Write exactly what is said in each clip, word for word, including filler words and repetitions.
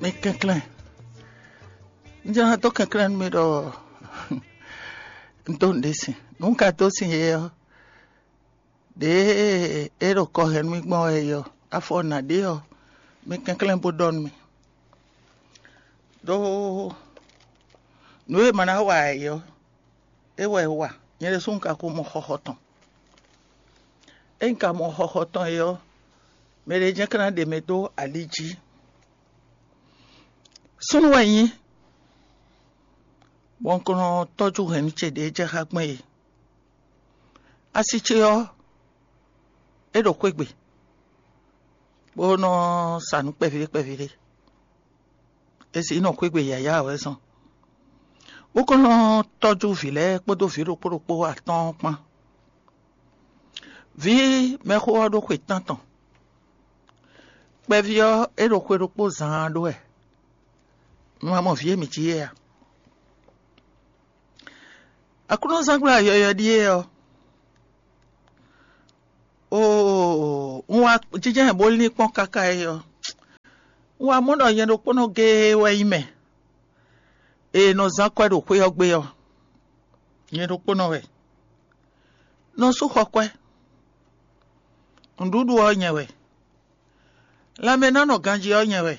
Mi kɛnklɛ́n. Un jló ná dó kɛnklɛ́n nú mi ɖɔ un dó nǔɖé sin. Nǔ un ka dó sin é ɔ́, ɖěe é ɖo kɔ hɛn nú mì gbɔn wɛ é ɔ́, afɔ nǎ ɖe ɔ́, mi kɛnklɛ́n bó ɖɔ nú mì. Ɖó nǔ e ma ná wa ɛ ɔ́, é wɛ é wa. Nyɛ ɖésú un ka ko mɔ xɔxɔ tɔn. Ényí un ka mɔ xɔxɔ tɔn é ɔ́, mɛ ɖé jɛ́n ka ná ɖe mɛ dó ali jí. Súnnu wɛ nyí, bɔ un ko nɔ tɔ́jú hɛ̌nnu ce ɖě jɛ xá gbɔn é. Asi ce ɔ́, é ɖo xwé gbe, bó nɔ sa nǔ kpɛví ɖé kpɛví ɖé. È sǐ nɔ xwé gbe yǎyá wɛ zɔn, bó kɔn nɔ tɔ́jú vǐ lɛ́ɛ kpódó vǐ ɖokpó ɖokpó atɔ́ɔ́n kpán. Vǐ mɛxó ɔ́ ɖó xwe tántɔn. Kpɛví ɔ́, é ɖo xwe ɖokpó zaan ɖó wɛ. Mi ma mɔ vǐ e mǐ cí é a? Aklúnɔzángbla yɔyɔ̌ ɖíe ɔ́, oo, un wá jínjɔ́n bó lín kpɔ́n káká é ɔ́, un wá mɔ ɖɔ nyɛ ɖokpónɔ géé wɛ nyí mɛ e nɔ zán kwɛ́ ɖo xwé ɔ́ gbe ɔ́. Nyɛ ɖokpónɔ wɛ. Nɔ sú xɔ kwɛ́. Nǔɖuɖu ɔ́ nyɛ wɛ. Lanmɛ ná nɔ ganjí ɔ́ nyɛ wɛ.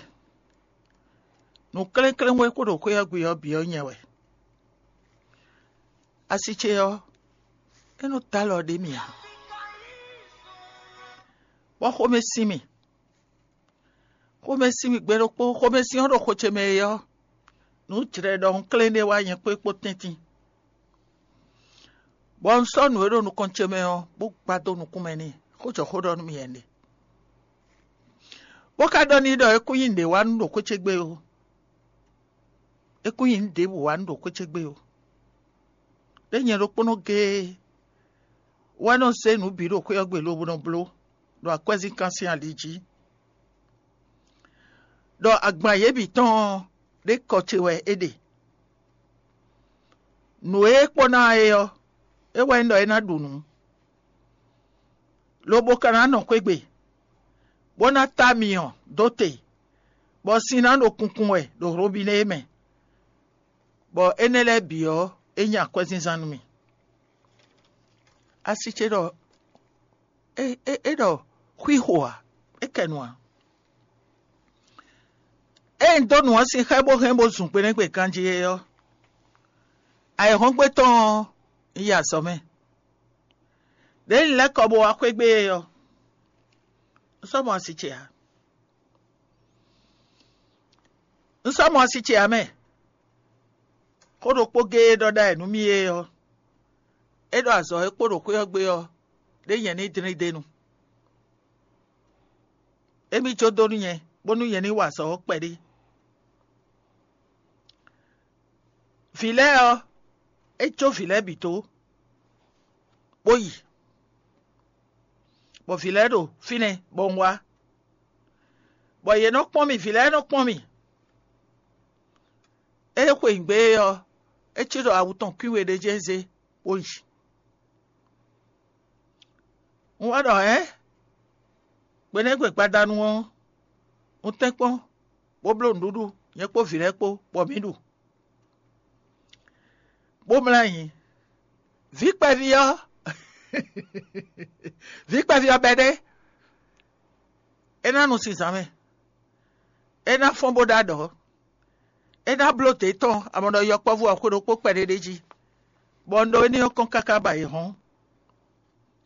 Nǔ klɛ́nklɛ́n wɛ kó ɖo xwé ɔ́ gbe ɔ́ bǐ ɔ́ nyɛ wɛ. Asi ce ɔ́, é nɔ dó alɔ ɖé mì ǎ, bɔ xomɛ sin mì. Xomɛ sin mì gbe ɖokpó, xomɛ sin ɔ́ ɖo xo ce mɛ é ɔ́, nǔ jlɛ̌ ɖɔhun klɛ́n ɖé wá nyɛ kpó é kpó tɛ́ntin. Bɔ un sɔ́ nǔ e ɖo nukɔn ce mɛ ɔ́, bó gbá dó nukún mɛ n'i, xó jɔ xó ɖɔ nú mì wɛ un ɖe. Bó ka ɖɔ n'i ɖɔ é kún nyí nǔɖé wá nú ɖo xwé ce gbe ó. É kún nyí nǔ ɖěbǔ wá nú ɖo xwé ce gbe ó. Ɖé nyɛ ɖokpónɔ géé wɛ nɔ zé nǔ bǐ ɖo xwé ɔ́ gbe lobo nɔ bló ɖo akwɛ́zínkán sín ali jí, ɖɔ agban yě bǐ tɔn ɔ́, ɖé kɔ ce wɛ é ɖe. Nǔ e é kpɔ́ ná é ɔ́, é wɛ nyí ɖɔ é ná ɖu nǔ, lobo ka ná nɔ xwé gbe, bó ná tá myɔ dó te, bɔ sin ná ɖo kunkun wɛ ɖo hlobínɛ é mɛ, bɔ énɛ́ lɛ́ɛ bǐ ɔ́, é nyí akwɛ́zínzán nú mì. Asi ce ɖɔ é, é, é ɖɔ xwixo ǎ, é kɛ nu ǎ. Ée un dó nǔ ɔ́ sin xá ɛ bó hɛn bó zun gbe nɛ́ gbe ganjí é ɔ́, ayǐhɔ́ngbe tɔn ɔ́, un yi azɔ̌ mɛ. Đěe un lɛ́ kɔ bó wá xwé gbe é ɔ́, un sɔ́ mɔ asi ce ǎ. Un sɔ́ mɔ asi ce ǎ mɛ. Xó ɖokpó géé e ɖɔ ɖ'ayǐ nú mì é ɔ́, é ɖɔ azɔ̌ e kpo ɖo xwé ɔ́ gbe ɔ́, ɖé nyɛ ní dlín d'é nu. Émí jó dó nú nyɛ, bónú nyɛ ní wa azɔ̌ ɔ́ kpɛɖé. Vǐ lɛ́ɛ ɔ́, é jó vǐ lɛ́ɛ bǐ dó, bó yi, bɔ vǐ lɛ́ɛ ɖo fínɛ́ bɔ un wá, bɔ yě nɔ kpɔ́n mì, vǐ lɛ́ɛ nɔ kpɔ́n mì. Ée xweyǐgbe é ɔ́, é cí ɖɔ awu tɔn kwín we ɖé jɛ́n zé, bó yi. Un wá ɖɔ hɛ̌n, gbe nɛ́ gbe gbadanu ɔ́, un tɛ́nkpɔ́n, bó bló nǔɖuɖu, nyɛ kpó vǐ lɛ́ɛ kpó, bɔ mǐ ɖu, bó mlá nyi. Vǐ kpɛví ɔ́, vǐ kpɛví ɔ́ bɛ́ ɖé, é ná nu sin zǎn mɛ, é ná fɔ́n bó ɖó aɖɔ̌, é ná bló dě tɔn amɔ̌ ɖɔ yɔkpɔ́vú ɔ́ xwe ɖokpó kpɛɖé ɖé jí, bɔ un ɖó éní ɔ́ kɔn káká ba yě hɔ́n,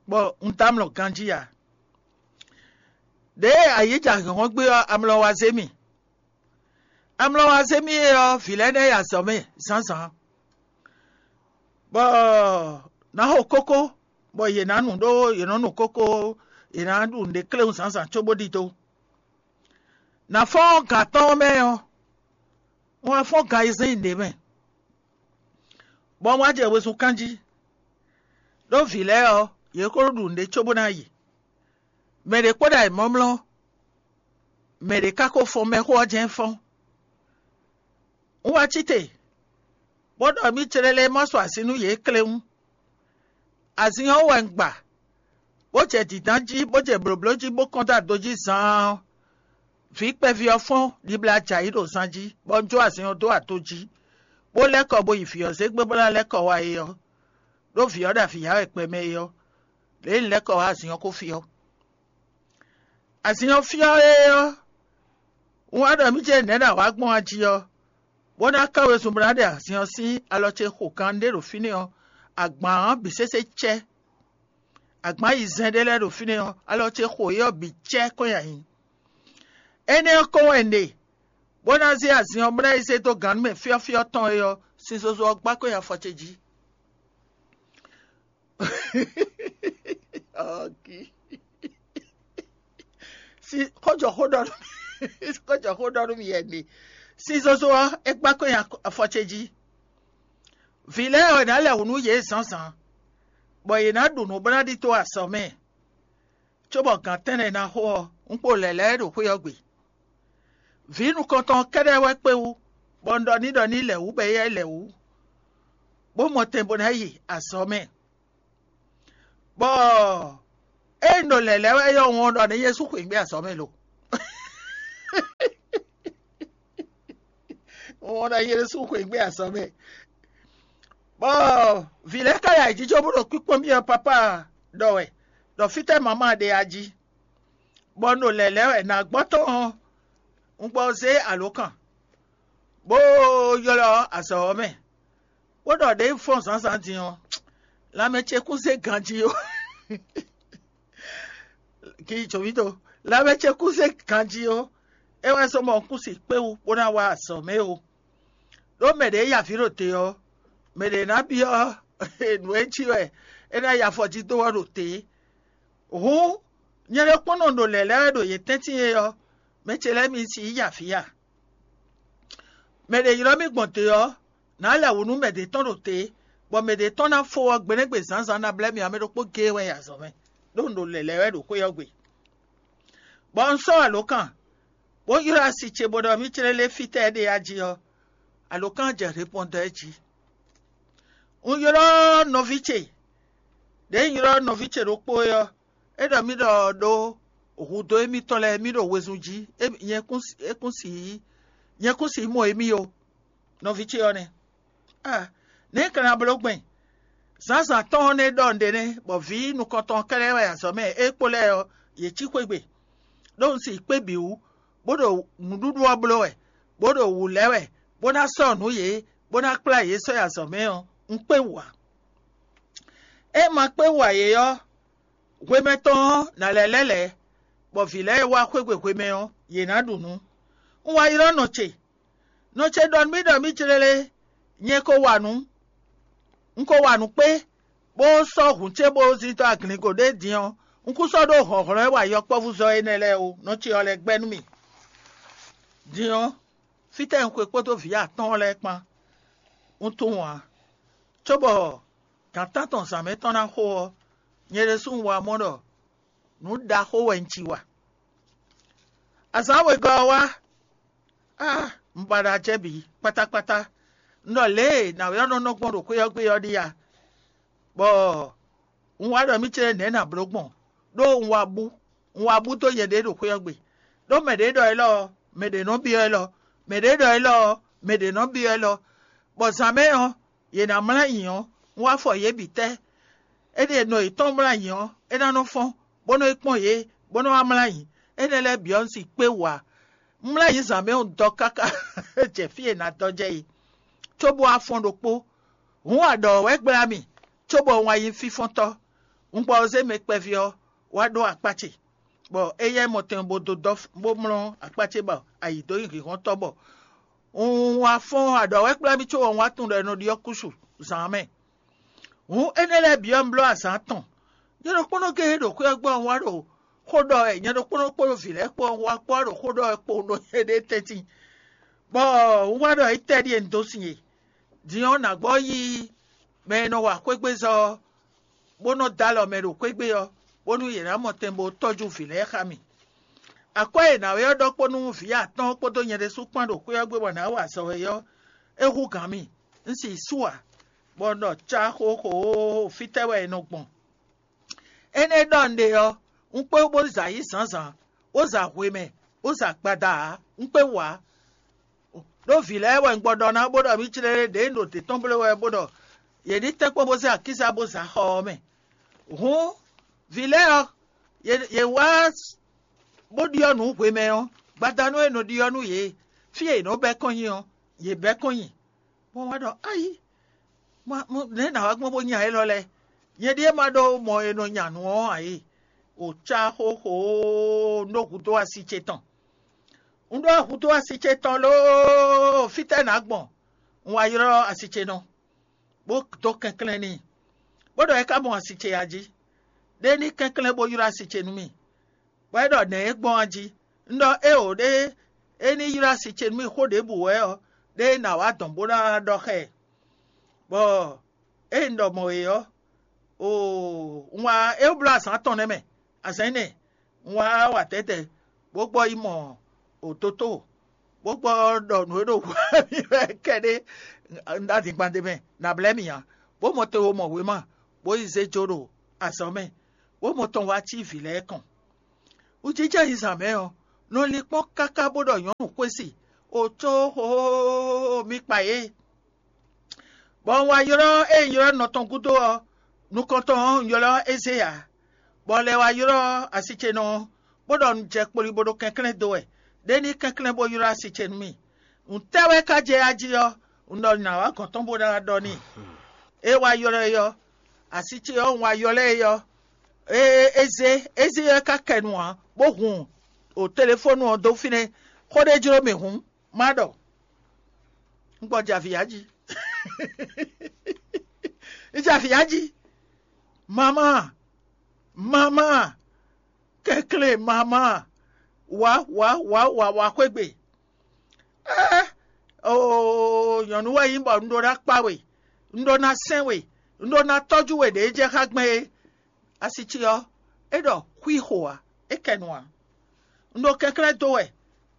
bɔ un dɔ́ amlɔ ganjí ǎ. Ɖěe ayǐ jɛ ahǐnhɔ́n gbé ɔ́, amlɔ wá zé mì. Amlɔ wá zé mì é ɔ́, vǐ lɛ́ɛ nɛ́ yi azɔ̌ mɛ zǎnzǎn, bɔ nǎ xo kókó, bɔ yě ná nu ɖó yě nɔ nu kókó, yě ná ɖu nǔɖé kléwún zǎnzǎn cóbó ɖidó. Nǎ fɔ́n gan atɔ́ɔ́n mɛ ɔ́, un wá fɔ́n gan ayizɛ́n nyi ɖě mɛ, bɔ un wá jɛ wezun kán jí, ɖó vǐ lɛ́ɛ ɔ́, yě ko ɖo ɖu nǔɖé cóbó ná yi. Mɛ ɖě kpó ɖo ayǐmlɔ́mlɔ́, mɛ ɖě ka ko fɔ́n mɛxó ɔ́ jɛ́n fɔ́n. Un wá cí te, bó ɖɔ mì clɛ́lɛ́ ma sɔ́ azin nú yě kléwún. Azin ɔ́ wɛ un gba, bó jɛ dǐndán jí, bó jɛ blǒbló jí, bó kɔn dó ado jí zaan ɔ́, Vǐ kpɛví ɔ́ fɔ́n ɖibla jɛ ayǐ ɖo zan jí, bɔ un jó azin ɔ́ dó ato jí, bó lɛ́ kɔ bo yi vǐ ɔ́ zé gbé bó ná lɛ́ kɔ wá é ɔ́, ɖó vǐ ɔ́ ɖo avǐ ya wɛ kpɛ mɛ é ɔ́, lě e un lɛ́ kɔ wá azin ɔ́ ko fyɔ́. Azin ɔ́ fyɔ́ é ɔ́, un wá ɖɔ mì ce nɛ̌ ɖo awǎ gbɔn a jí ɔ́, bó ná ká wezun bó ná ɖe azin ɔ́ sín alɔ ce xo kan ɖé ɖo fínɛ́ ɔ́, agban ɔ́ bǐ sésé cɛ́. Agban yi zɛn ɖé lɛ́ɛ ɖo fínɛ́ ɔ́, alɔ ce xo é ɔ́ bǐ cɛ́ kɔn nyi ayǐ. Énɛ́ ɔ́ kɔn wɛ un ɖe, bó ná zé azin ɔ́ bó ná yi zé dó gannú mɛ fyɔ́fyɔ́ tɔn é ɔ́, sin zozo ɔ́ gbá kɔn nyi afɔ ce jí. Ɔ́, gí. Sí, xó jɔ xó ɖɔ nú mì, xó jɔ xó ɖɔ nú mì yɛ ɖe. Sin zozo ɔ́, é gbá kɔn nyi afɔ ce jí. Vǐ lɛ́ɛ wɛ ná lɛ wǔ nú yě zǎnzǎn, bɔ yě ná ɖu nǔ bó ná ɖidó azɔ̌ mɛ, cóbɔ gǎn tɛ́nnɛ ná xo ɔ́, un kpo lɛ̌ lɛ́ɛ ɖo xwé ɔ́ gbe. Vǐ nukɔntɔn ɔ́ kɛ́ɖɛ́ wɛ kpé wú, bɔ un ɖɔ n'i ɖɔ ní lɛ wǔ bɔ éyɛ́ lɛ wǔ, bó mɔ tɛn bó ná yi azɔ̌ mɛ. Bɔ ée un ɖo lɛ̌ lɛ́ɛ wɛ é ɔ́, un ɖɔ n'i Jezu xweyǐgbe azɔ̌ mɛ lo. Un ɖɔ Jezu xweyǐgbe azɔ̌ mɛ. Bɔ vǐ lɛ́ɛ ka yi ayǐjínjɔ́n bó ɖo kpíkpɔ́n mì ɔ́, pápá ɖɔ wɛ ɖɔ fítɛ́ mamá ɖe a jí, bɔ un ɖo lɛ̌ lɛ́ɛ wɛ nǎgbɔ́ tɔn ɔ́, un gbɔ zé alǒkan, bó ylɔ́ azɔ̌ ɔ́ mɛ, bó ɖɔ ɖě un fɔ́n zǎnzǎn din ɔ́, lanmɛ ce kún zé ganjí ó. Kí jǒmítɔn, lanmɛ ce kún zé ganjí ó. É wɛ zɔ́n bɔ un kún si kpé wú bó ná wá azɔ̌ mɛ ó. Ɖó mɛ ɖě ya vǐ ɖo te ɔ́, mɛ ɖě ná byɔ́ nǔ e jí wɛ é ná ya afɔ jí dó ɔ́ ɖo te. Hǔn, nyɛ ɖokpónɔ ɖo lɛ̌ lɛ́ɛ wɛ ɖo yě tɛ́ntin é ɔ́, mɛ ce lɛ́ɛ mi si yí ya avǐ a? Mɛ ɖě ylɔ́ mì gbɔn te ɔ́, nǎ lɛ wǔ nú mɛ ɖě tɔn ɖo te, bɔ mɛ ɖě tɔn ná fó ɔ́ gbeɖégbé zǎnzǎn ná blɛ́ mì ǎ, mɛ ɖokpó géé wɛ nyi azɔ̌ mɛ, ɖó un ɖo lɛ̌ lɛ́ɛ wɛ ɖo xwé ɔ́ gbe. Bɔ un sɔ́ alǒkan, bó ylɔ́ asi ce bó ɖɔ mì clélé fítɛ́ é ɖe a jí ɔ́, alǒkan jɛ repɔndɔ ɛ jí. Un ylɔ́ nɔví ce, ɖěe un ylɔ́ nɔví ce ɖokpó é ɔ́, é ɖɔ mì ɖɔ ɖó hǔdó émítɔn lɛ́ɛ mì ɖo wezun jí, é- nyɛ kún s- é kún sixú nyɛ kún sixú mɔ émí ó. Nɔví ce ɔ́ nɛ́. Ah, nɛ̌ un ka ná bló gbɛn? Zǎnzǎn tɔn ɔ́ nɛ́ ɖɔ un ɖe nɛ́, bɔ vǐ nukɔntɔn ɔ́ kɛ́ɖɛ́ wɛ azɔ̌ mɛ é kpo lɛ́ɛ ɔ́, yě cí xwé gbe, ɖó un si kpé bǐ wú, bó ɖo nǔɖuɖu ɔ́ bló wɛ, bó ɖo wǔ lɛ́ wɛ, bó ná sɔ́ nǔ yě, bó ná kplá yě sɔ́ yi azɔ̌ mɛ ɔ́, un kpé wǔ ǎ. É ma kpé wú ǎ é ɔ́, hwemɛ tɔn ɔ́, nǎ lɛ́ lɛ́ lɛ̌, bɔ vǐ lɛ́ɛ e wá xwégbe hwemɛ ɔ́, yě ná ɖu nǔ. Un wá ylɔ́ nɔ ce. Nɔ ce ɖɔ nú mì ɖɔ mì clélé, nyɛ ko wa nǔ, un ko wa nǔ kpé, bó sɔ́ hǔn ce bó zín dó aglingo ɖé din ɔ́, un kún sɔ́ ɖó hlɔ̌nhlɔ́n e wa yɔkpɔ́vúzɔ́ énɛ́ lɛ́ɛ ó. Nɔ ce ɔ́ lɛ́ gbɛ́ nú mì. Din ɔ́, fítɛ́ un xwe kpódó vǐ atɔ́ɔ́n lɛ́ɛ kpán? Un tunwun ǎ, cóbɔ gǎn tántɔn zǎn mɛ tɔn ná xo ɔ́, nyɛ ɖésú un wá mɔ ɖɔ nǔ ɖaxó wɛ un ci wa. Azǎn wegɔ́ ɔ́ wá, á, un ba ɖo acɛ bǐ kpátákpátá. Un ɖɔ lě e nǎwe ɔ́ nɔ nɔ gbɔn ɖo xwé ɔ́ gbe ɔ́ ɖíe a? Bɔ un wá ɖɔ mì cɛ́ nɛ̌ nǎ bló gbɔn, ɖó un wá bú, un wá bú dó nyɛɖée ɖo xwé ɔ́ gbe. Ɖó mɛ ɖě ɖɔ élɔ́ ɔ́, mɛ ɖě nɔ byɔ́ élɔ́; mɛ ɖě ɖɔ élɔ́ ɔ́, mɛ ɖě nɔ byɔ́ élɔ́. Bɔ zǎn mɛ ɔ́, yě ná mlá nyi ɔ́, un wá fɔ yě bǐ tɛ́. Éɖée nɔ yětɔn mlá nyi ɔ́, é ná nɔ fɔ́n, bó nɔ́ yi kpɔ́n yě, bó nɔ́ wá mlá nyi. Énɛ́ lɛ́ɛ bǐ ɔ́, un si kpé wǔ ǎ. Un mlá nyi zǎn mɛ ɔ́ dɔ káká jɛ fí e è nǎ dɔ jɛ é, cóbó wá fɔ́n ɖokpó. Hǔn aɖɔ̌ wɛ gbla mì, cóbɔ un wá nyí fínfɔ́ntɔ́. Un gbɔ zé mɛ kpɛví ɔ́ wá ɖó akpá ce, bɔ éyɛ́ mɔ tɛn bó dó dɔ́ bó mlɔ́ akpá ce bɔ ayǐ dó nyi hǐnhɔ́ntɔ́ bɔ un wá fɔ́n aɖɔ̌ wɛ gbla mì, cóbɔ un wá tunwun ɖɔ è nɔ ɖyɔ́ kúsu zǎn ɔ́ mɛ. Hǔn énɛ́ lɛ́ɛ bǐ ɔ́, un bló azǎn atɔn. Nyɛ ɖokpónɔ géé ɖo xwé ɔ́ gbɔ, un wá ɖo xó ɖɔ wɛ, nyɛ ɖokpónɔ kpódó vǐ lɛ́ɛ kpó ɔ́, un wá kpó wá ɖo xó ɖɔ wɛ kpowun ɖo nyɛɖée tɛ́ntin, bɔ un wá ɖɔ étɛ́ ɖíe un dó sin e? Din ɔ́, nǎgbɔ́ yí mɛ e nɔ wa xwégbezɔ́ ɔ́, bó nɔ́ dó alɔ mɛ ɖo xwé gbe ɔ́, bónú yě ná mɔ tɛn bó tɔ́jú vǐ lɛ́ɛ xá mì. Akwɛ́ e nǎwe ɔ́ ɖɔ kpó nú vǐ atɔ́ɔ́n kpódó nyɛ ɖésú kpán ɖo xwé ɔ́ gbe bɔ nǎ wa azɔ̌ é ɔ́, é hú gǎn mì. Un si sú ǎ, bɔ un ɖɔ cá xóxóó, fítɛ́ wɛ è nɔ gbɔn? Énɛ́ ɖɔ un ɖe ɔ́, un kpé bó za yí zǎnzǎn, bó za hwemɛ, bó zɛ agbada ǎ, un kpé wú ǎ. Ɖó vǐ lɛ́ɛ wɛ un gbɔ ɖɔ ná bó ɖɔ mǐ jlé ɖě un ɖo dě tɔn bló wɛ bó ɖɔ yě ní tɛ́nkpɔ́n bó zé akíza bó zɛ axɔ ɔ́ mɛ. Hǔn vǐ lɛ́ɛ ɔ́, yě wá bó ɖyɔ́ nǔ hwemɛ ɔ́, gbadanu e è nɔ ɖyɔ́ nú yě, fí e yě nɔ bɛ́ kɔn nyi ɔ́, yě bɛ́ kɔn nyi. Bɔ wá ɖɔ: Ayi, nɛ̌ nǎ wá gbɔn bó nya élɔ́ lɛ́ɛ? Nyɛ ɖíe ma ɖó mɔ e nɔ nya nǔ ɔ́ ǎ é. O cá xóxó nú hudó asi ce tɔn. Un ɖó hudó asi ce tɔn lóó, fítɛ́ nǎ gbɔn? Un wá ylɔ́ asi ce nɔ, bó dó kɛnklɛ́n n'i, bó ɖɔ é ká mɔ asi ce a jí. Ɖé ní kɛnklɛ́n bó ylɔ́ asi ce nú mì, bɔ é ɖɔ: Nɛ̌ é gbɔn a jí? Un ɖɔ: Éeǒ, ɖé é ní ylɔ́ asi ce nú mì xó ɖěbǔ wɛ ɔ́, ɖé nǎ wá dɔn bó ná ɖɔ xá ɛ. Bɔ ée un ɖɔ mɔ̌ é ɔ́, oo, un wá é bló azǎn tɔn nɛ́ mɛ, azǎn énɛ́ un wá wa tɛ̌tɛ̌, bó gbɔ yi mɔ dotóo, bó gbɔ ɖɔ nǔ e ɖo hu mì wɛ kɛɖé un ɖó adingban ɖé mɛ, nǎ blɛ́ mì ǎ, bó mɔ te wo mɔ wěma, bó yi zé jó ɖo azɔ̌ mɛ, bó mɔ tɔn wá cí vǐ lɛ́ɛ kɔn. Wǔjijɛ yi zǎn mɛ ɔ́, nɔ linkpɔ́n káká bó ɖɔ nyɔ̌nu xwé si, o có xóxóxóxó mi kpa yě. Bɔ un wá ylɔ́ ée un ylɔ́ nɔ tɔn gúdo ɔ́, nukɔntɔn ɔ́, un ylɔ́ Ezée ǎ, bɔ lɛ wá ylɔ́ asi ce nɔ ɔ́, bó ɖɔ un jɛ kpoli bó ɖo kɛnklɛ́n dó wɛ, ɖé ní kɛnklɛ́n bó ylɔ́ asi ce nú mì. Nǔtɛ́ wɛ ka jɛ ají ɔ́, un ɖɔ nǎ wá gɔ̌n tɔn bó ná ɖɔ n'i. É wá ylɔ́ ɛ ɔ́, asi ce ɔ́, un wá ylɔ́ ɛ ɔ́, é zé é zé ɔ́ ka kɛ nu ǎ, bó hun o telefónu ɔ́ dó fínɛ́. Xó ɖé jló mì hǔn, má ɖɔ un gbɔ jɛ avǐ ya jí. Un jɛ avǐ ya jí. Mamá, mamá, kɛnklɛ́n mamá, wǎ wǎ wǎ wǎ wǎ xwé gbe. Ɛɛ, oo, nyɔ̌nu wɛ nyí bɔ un ɖó ná kpá we, un ɖó ná sɛn we, un ɖó ná tɔ́jú we ɖě jɛ xá gbɛn é. Asi ce ɔ́, é ɖɔ xwixo ǎ, é kɛ nu ǎ. Un ɖo kɛnklɛ́n dó wɛ,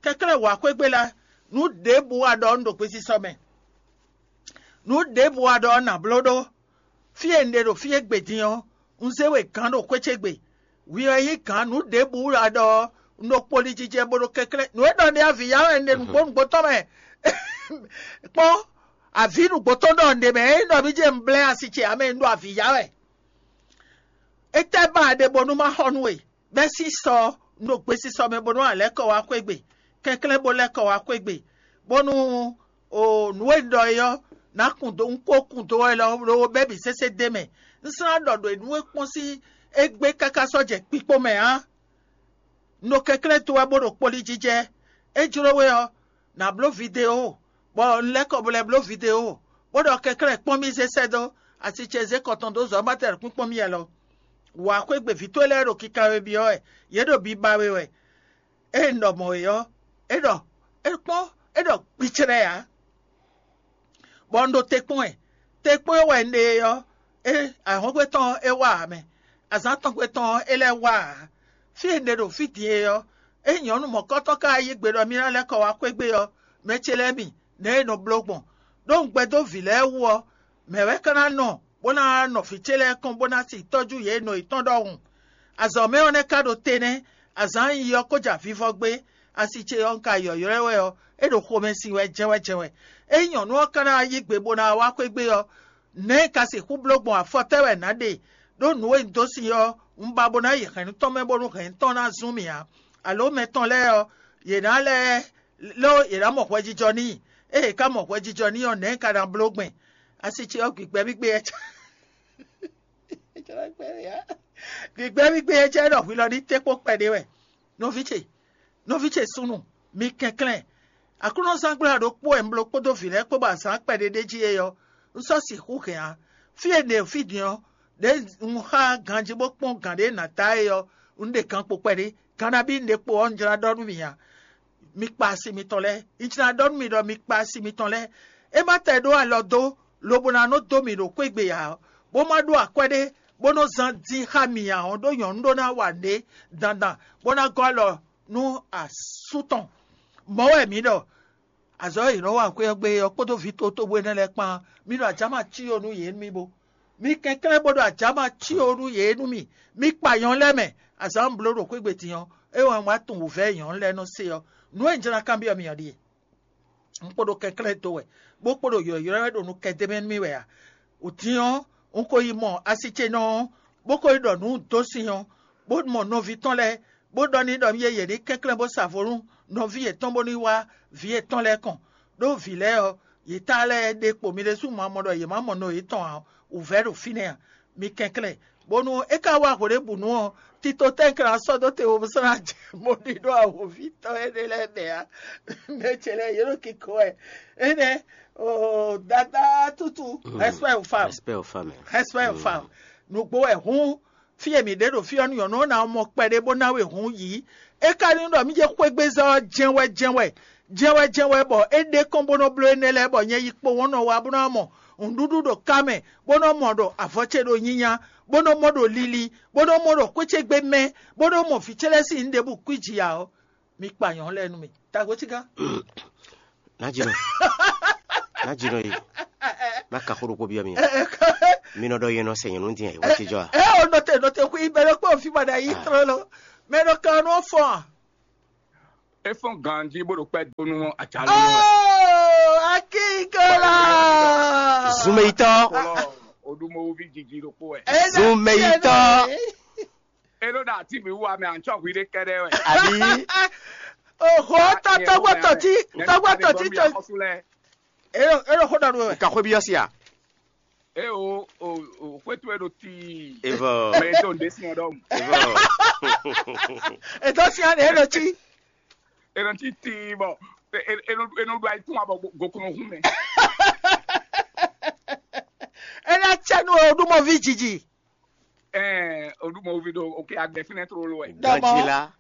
kɛnklɛ́n wǎ xwé gbe lɛ́ɛ, nǔ ɖěbǔ wa ɖɔ un ɖo gbesisɔ mɛ. Nǔ ɖěbǔ wa ɖɔ nǎ bló ɖó. Fí e un ɖe ɖo fí égbé din ɔ́, un zé we gǎn ɖo xwé ce gbe. Hwi wɛ nyí gǎn nǔ ɖěbǔ wɛ a ɖɔ ɔ́, un ɖo kpoli jijɛ bó ɖo kɛnklɛ́n. Nǔ e ɖɔ un ɖe avǐ ya wɛ un ɖe nǔgbó nǔgbó tɔn mɛ. Kpɔ́n, avǐ nǔgbó tɔn ɖɔ un ɖe mɛ, é nyí ɖɔ mí jɛ un blɛ́ asi ce ǎ mɛ, un ɖo avǐ ya wɛ. Étɛ́ ba a ɖe bónú má xɔ nú we? Bɛ́ sísɔ un ɖo gbesisɔ mɛ bónú a lɛ́ kɔ wá xwé gbe, kɛnklɛ́n bó lɛ́ kɔ wá xwé gbe, bónú o nǔ e un ɖɔ é ɔ́, ná kun dó un kó kun dó wɛ lɔ ɖó bɛ́ bǐ sésé d'é mɛ. Un slán ɖɔ ɖo nǔ e kpɔ́n sín égbé káká sɔ́ jɛ kpikpó mɛ ǎ. Un ɖo kɛnklɛ́n dó wɛ bó ɖo kpoli jijɛ. É jló we ɔ́, nǎ bló video, bɔ un lɛ́ kɔ bo lɛ́ bló video, bó ɖɔ kɛnklɛ́n kpɔ́n mì zé sɛ́ dó asi ce zé kɔ tɔn dó zɔ̌ ma tɛ kpínkpɔ́n mì alɔ. Wǎ xwé gbe vǐ towe lɛ́ɛ ɖo kikanwe byɔ́ wɛ, yě ɖo biba we wɛ. Ée un ɖɔ mɔ̌ é ɔ́, é ɖɔ é kpɔ́n, é ɖɔ gbicɛ́nɛ́ ǎ. Bɔ un ɖo te kpɔ́n ɛ. Te kpɔ́n e wɛ un ɖe é ɔ́, é ahɔ́ngbe tɔn ɔ́ é wá ǎ mɛ; azǎn tɔngbe tɔn ɔ́ é lɛ́ wá ǎ. Fí e un ɖe ɖo fí din é ɔ́, ényí nyɔ̌nu mɔ̌kɔ́tɔn ka yí gbe ɖɔ mì ná lɛ́ kɔ wá xwé gbe ɔ́, mɛ ce lɛ́ɛ mi, nɛ̌ è nɔ bló gbɔn? Ɖó un gbɛdó vǐ lɛ́ɛ wú ɔ́, mɛ̌ wɛ ka ná nɔ bó ná nɔ vǐ ce lɛ́ɛ kɔn bó ná si tɔ́jú yě nɔ yětɔn ɖɔhun? Azɔ̌ mɛ ɔ́ nɛ́ ka ɖo te nɛ́; azǎn e un yi ɔ́ ko jɛ avivɔ gbé; asi ce ɔ́, un ka yɔ̌ylɔ́ ɛ wɛ ɔ́, é ɖo xomɛ sin wɛ jɛ́wɛ́jɛ́wɛ́. Ényí nyɔ̌nu ɔ́ ka ná yí gbe bó ná wá xwé gbe ɔ́, nɛ̌ un ka sixú bló gbɔn? Afɔ tɛ́ wɛ nǎ ɖe? Ɖó nǔ e un dó sin ɔ́, un ba bó ná yi hɛ̌nnu tɔn mɛ bónú hɛ̌nnu tɔn ná zún mì ǎ; alo mɛ tɔn lɛ́ɛ ɔ́, yě ná lɛ́ ló yě ná mɔ hwɛjijɔ n'i. Ée yě ka mɔ hwɛjijɔ n'i ɔ́, nɛ̌ un ka ná bló gbɛn? Asi ce ɔ́, gbigbɛ́ mì gbé ɛ gbigbɛ́ mì gbé ɛ cɛ ɖɔ hwi lɔ ní té kpó kpɛɖé wɛ. Nɔví ce, nɔví ce súnnu, mi kɛnklɛ́n. Aklúnɔzángbla ɖokpó wɛ un bló kpódó vǐ lɛ́ɛ kpó bɔ azǎn kpɛɖé ɖ'é jí é ɔ́, un sɔ́ sixú hɛn ǎ. Fí e un ɖe fí din ɔ́, ɖěe un xá ganjí bó kpɔ́n gǎn ɖé nǎ ta é ɔ́, un ɖe gan kpo kpɛɖé. Gan nabí un ɖe kpo ɔ́, un jlá ɖɔ nú mi ǎ. Mi kpa asi mitɔn lɛ́ɛ. Un jlá ɖɔ nú mi ɖɔ mi kpa asi mitɔn lɛ́ɛ. É má tɛ ɖó alɔ dó, lobo ná nɔ dó mì ɖo xwé gbe ǎ, bó má ɖó akwɛ́ ɖé, bó nɔ zán dín xá mì ǎ ɔ́, ɖó nyɔ̌nu ɖó ná wa nǔɖé dandan, bó ná gɔ́ alɔ nú asú tɔn. Mɔ̌ wɛ mǐ ɖɔ, azɔ̌ e è nɔ wa xwé ɔ́ gbe ɔ́ kpódó vǐ totobo énɛ́ lɛ́ɛ kpán, mǐ ɖo ajǎma cí ó nú yě nú mì bó. Mi kɛnklɛ́n bó ɖo ajǎma cí ó nú yě nú mì. Mi kpa nyɔ̌nu lɛ́ɛ mɛ. Azǎn un bló ɖo xwé gbe din ɔ́, É wɛ un wá tunwun wǔvɛ́ e nyɔ̌nu lɛ́ɛ nɔ se ɔ́. Nǔ e un jló ná kanbyɔ́ mi ɔ́ ɖíe: un kpo ɖo kɛnklɛ́n do wɛ, bó kpo ɖo ylɔ̌ylɔ́ wɛ ɖo nukɛn d'é mɛ nú mì wɛ a? Wǔtín ɔ́, un ko yi mɔ asi ce nɔ ɔ́, bó ko yi ɖɔ nǔ dó sin ɔ́, bó mɔ nɔví tɔn lɛ́ɛ, bó ɖɔ n'i ɖɔ yě yě ní kɛnklɛ́n bó sa vo nú nɔví yětɔn bónú yi wá vǐ yětɔn lɛ́ɛ kɔn, ɖó vǐ lɛ́ɛ ɔ́, yě ta lɛ́ɛ ɖe kpo mi ɖésú ma mɔ ɖɔ yě má mɔ nɔ yětɔn ǎ, wǔvɛ́ ɖo fínɛ́ a? Mi kɛnklɛ́n, bónú é ka wá hweɖěbǔnu ɔ́, tito tɛ́nkɛ́n ná sɔ́ dó te wo bó sɔ́ ná jɛ bó ɖi ɖó awǒvi tɔn énɛ́ lɛ́ɛ mɛ ǎ. Mɛ ce lɛ́ɛ yě ɖo kiko wɛ. Énɛ́, oo, dada tútu, respect aux femmes. Respect aux femmes. Respect aux femmes. Nǔgbó wɛ hǔn, fí e mǐ ɖe ɖo fí ɔ́, nyɔ̌nu ɔ́ ná mɔ kpɛɖé bó ná we hǔn yǐ. É ka nyí ɖɔ mí jɛ xwégbezɔ́ ɔ́ jɛ́n wɛ jɛ́n wɛ, jɛ́n wɛ jɛ́n wɛ bɔ é ɖe kɔn bó nɔ́ bló énɛ́ lɛ́ɛ bɔ nyɛ yi kpowun ɔ́ nɔ wá bó ná mɔ nǔɖuɖu ɖo ká mɛ, bó nɔ́ mɔ ɖɔ avɔ ce ɖo nyinya, bó nɔ́ mɔ ɖo lili, bó nɔ́ mɔ ɖɔ xwé ce gbe mɛ, bó nɔ́ mɔ vǐ ce lɛ́ɛ sín nǔɖébǔ kwíji ǎ ɔ́, mi kpa nyɔ̌nu lɛ́ɛ nú mì. Tagotígán. Ná jínɔ ná jínɔ yi má ka xó ɖokpó byɔ́ mi. Mi nɔ ɖɔ yɛn nɔ sɛ nyɔ̌nu din ɛ wá jijɔ a? Ɛ o nɔte nɔte xwí bɛ ɖo kpé òfin ma ɖe yí trɔ lɔ mɛ ɖo kan nɔ fɔ a? É fɔ́n ganjí bó ɖo kpɛ́ dó nú ajǎnú nú wɛ. Oh, akínkɔlá. Zumeyitɔ. Oɖumɔwúví jiji ɖokpó wɛ. Zumeyitɔ. É ɖó ɖo atíbǐ wú amɛ àncɔ́ hwi ɖé kɛ́ɖɛ́ wɛ. Àbí. Oho tɔtɔgbɔtɔti tɔgbɔtɔti tɔ. Ero ero xó ɖɔ nú wɛ. Ka xwé byɔ́ sí a? É o o o xwétú é ɖo tíi. Evɔ. Mɛ tó ń dé sí ɔdɔm. Evɔ. Ètò sí àná èrò tí. Èrò tí tíi bɔ enu enu ɖo ayikún abɔ gokun hun mɛ. Ena tsɛnu oɖumɔvi jiji. Ɛɛ oɖumɔvi ɖo oke agbɛ fínɛ tlóló wɛ. Dɔmɔ. Ganjila.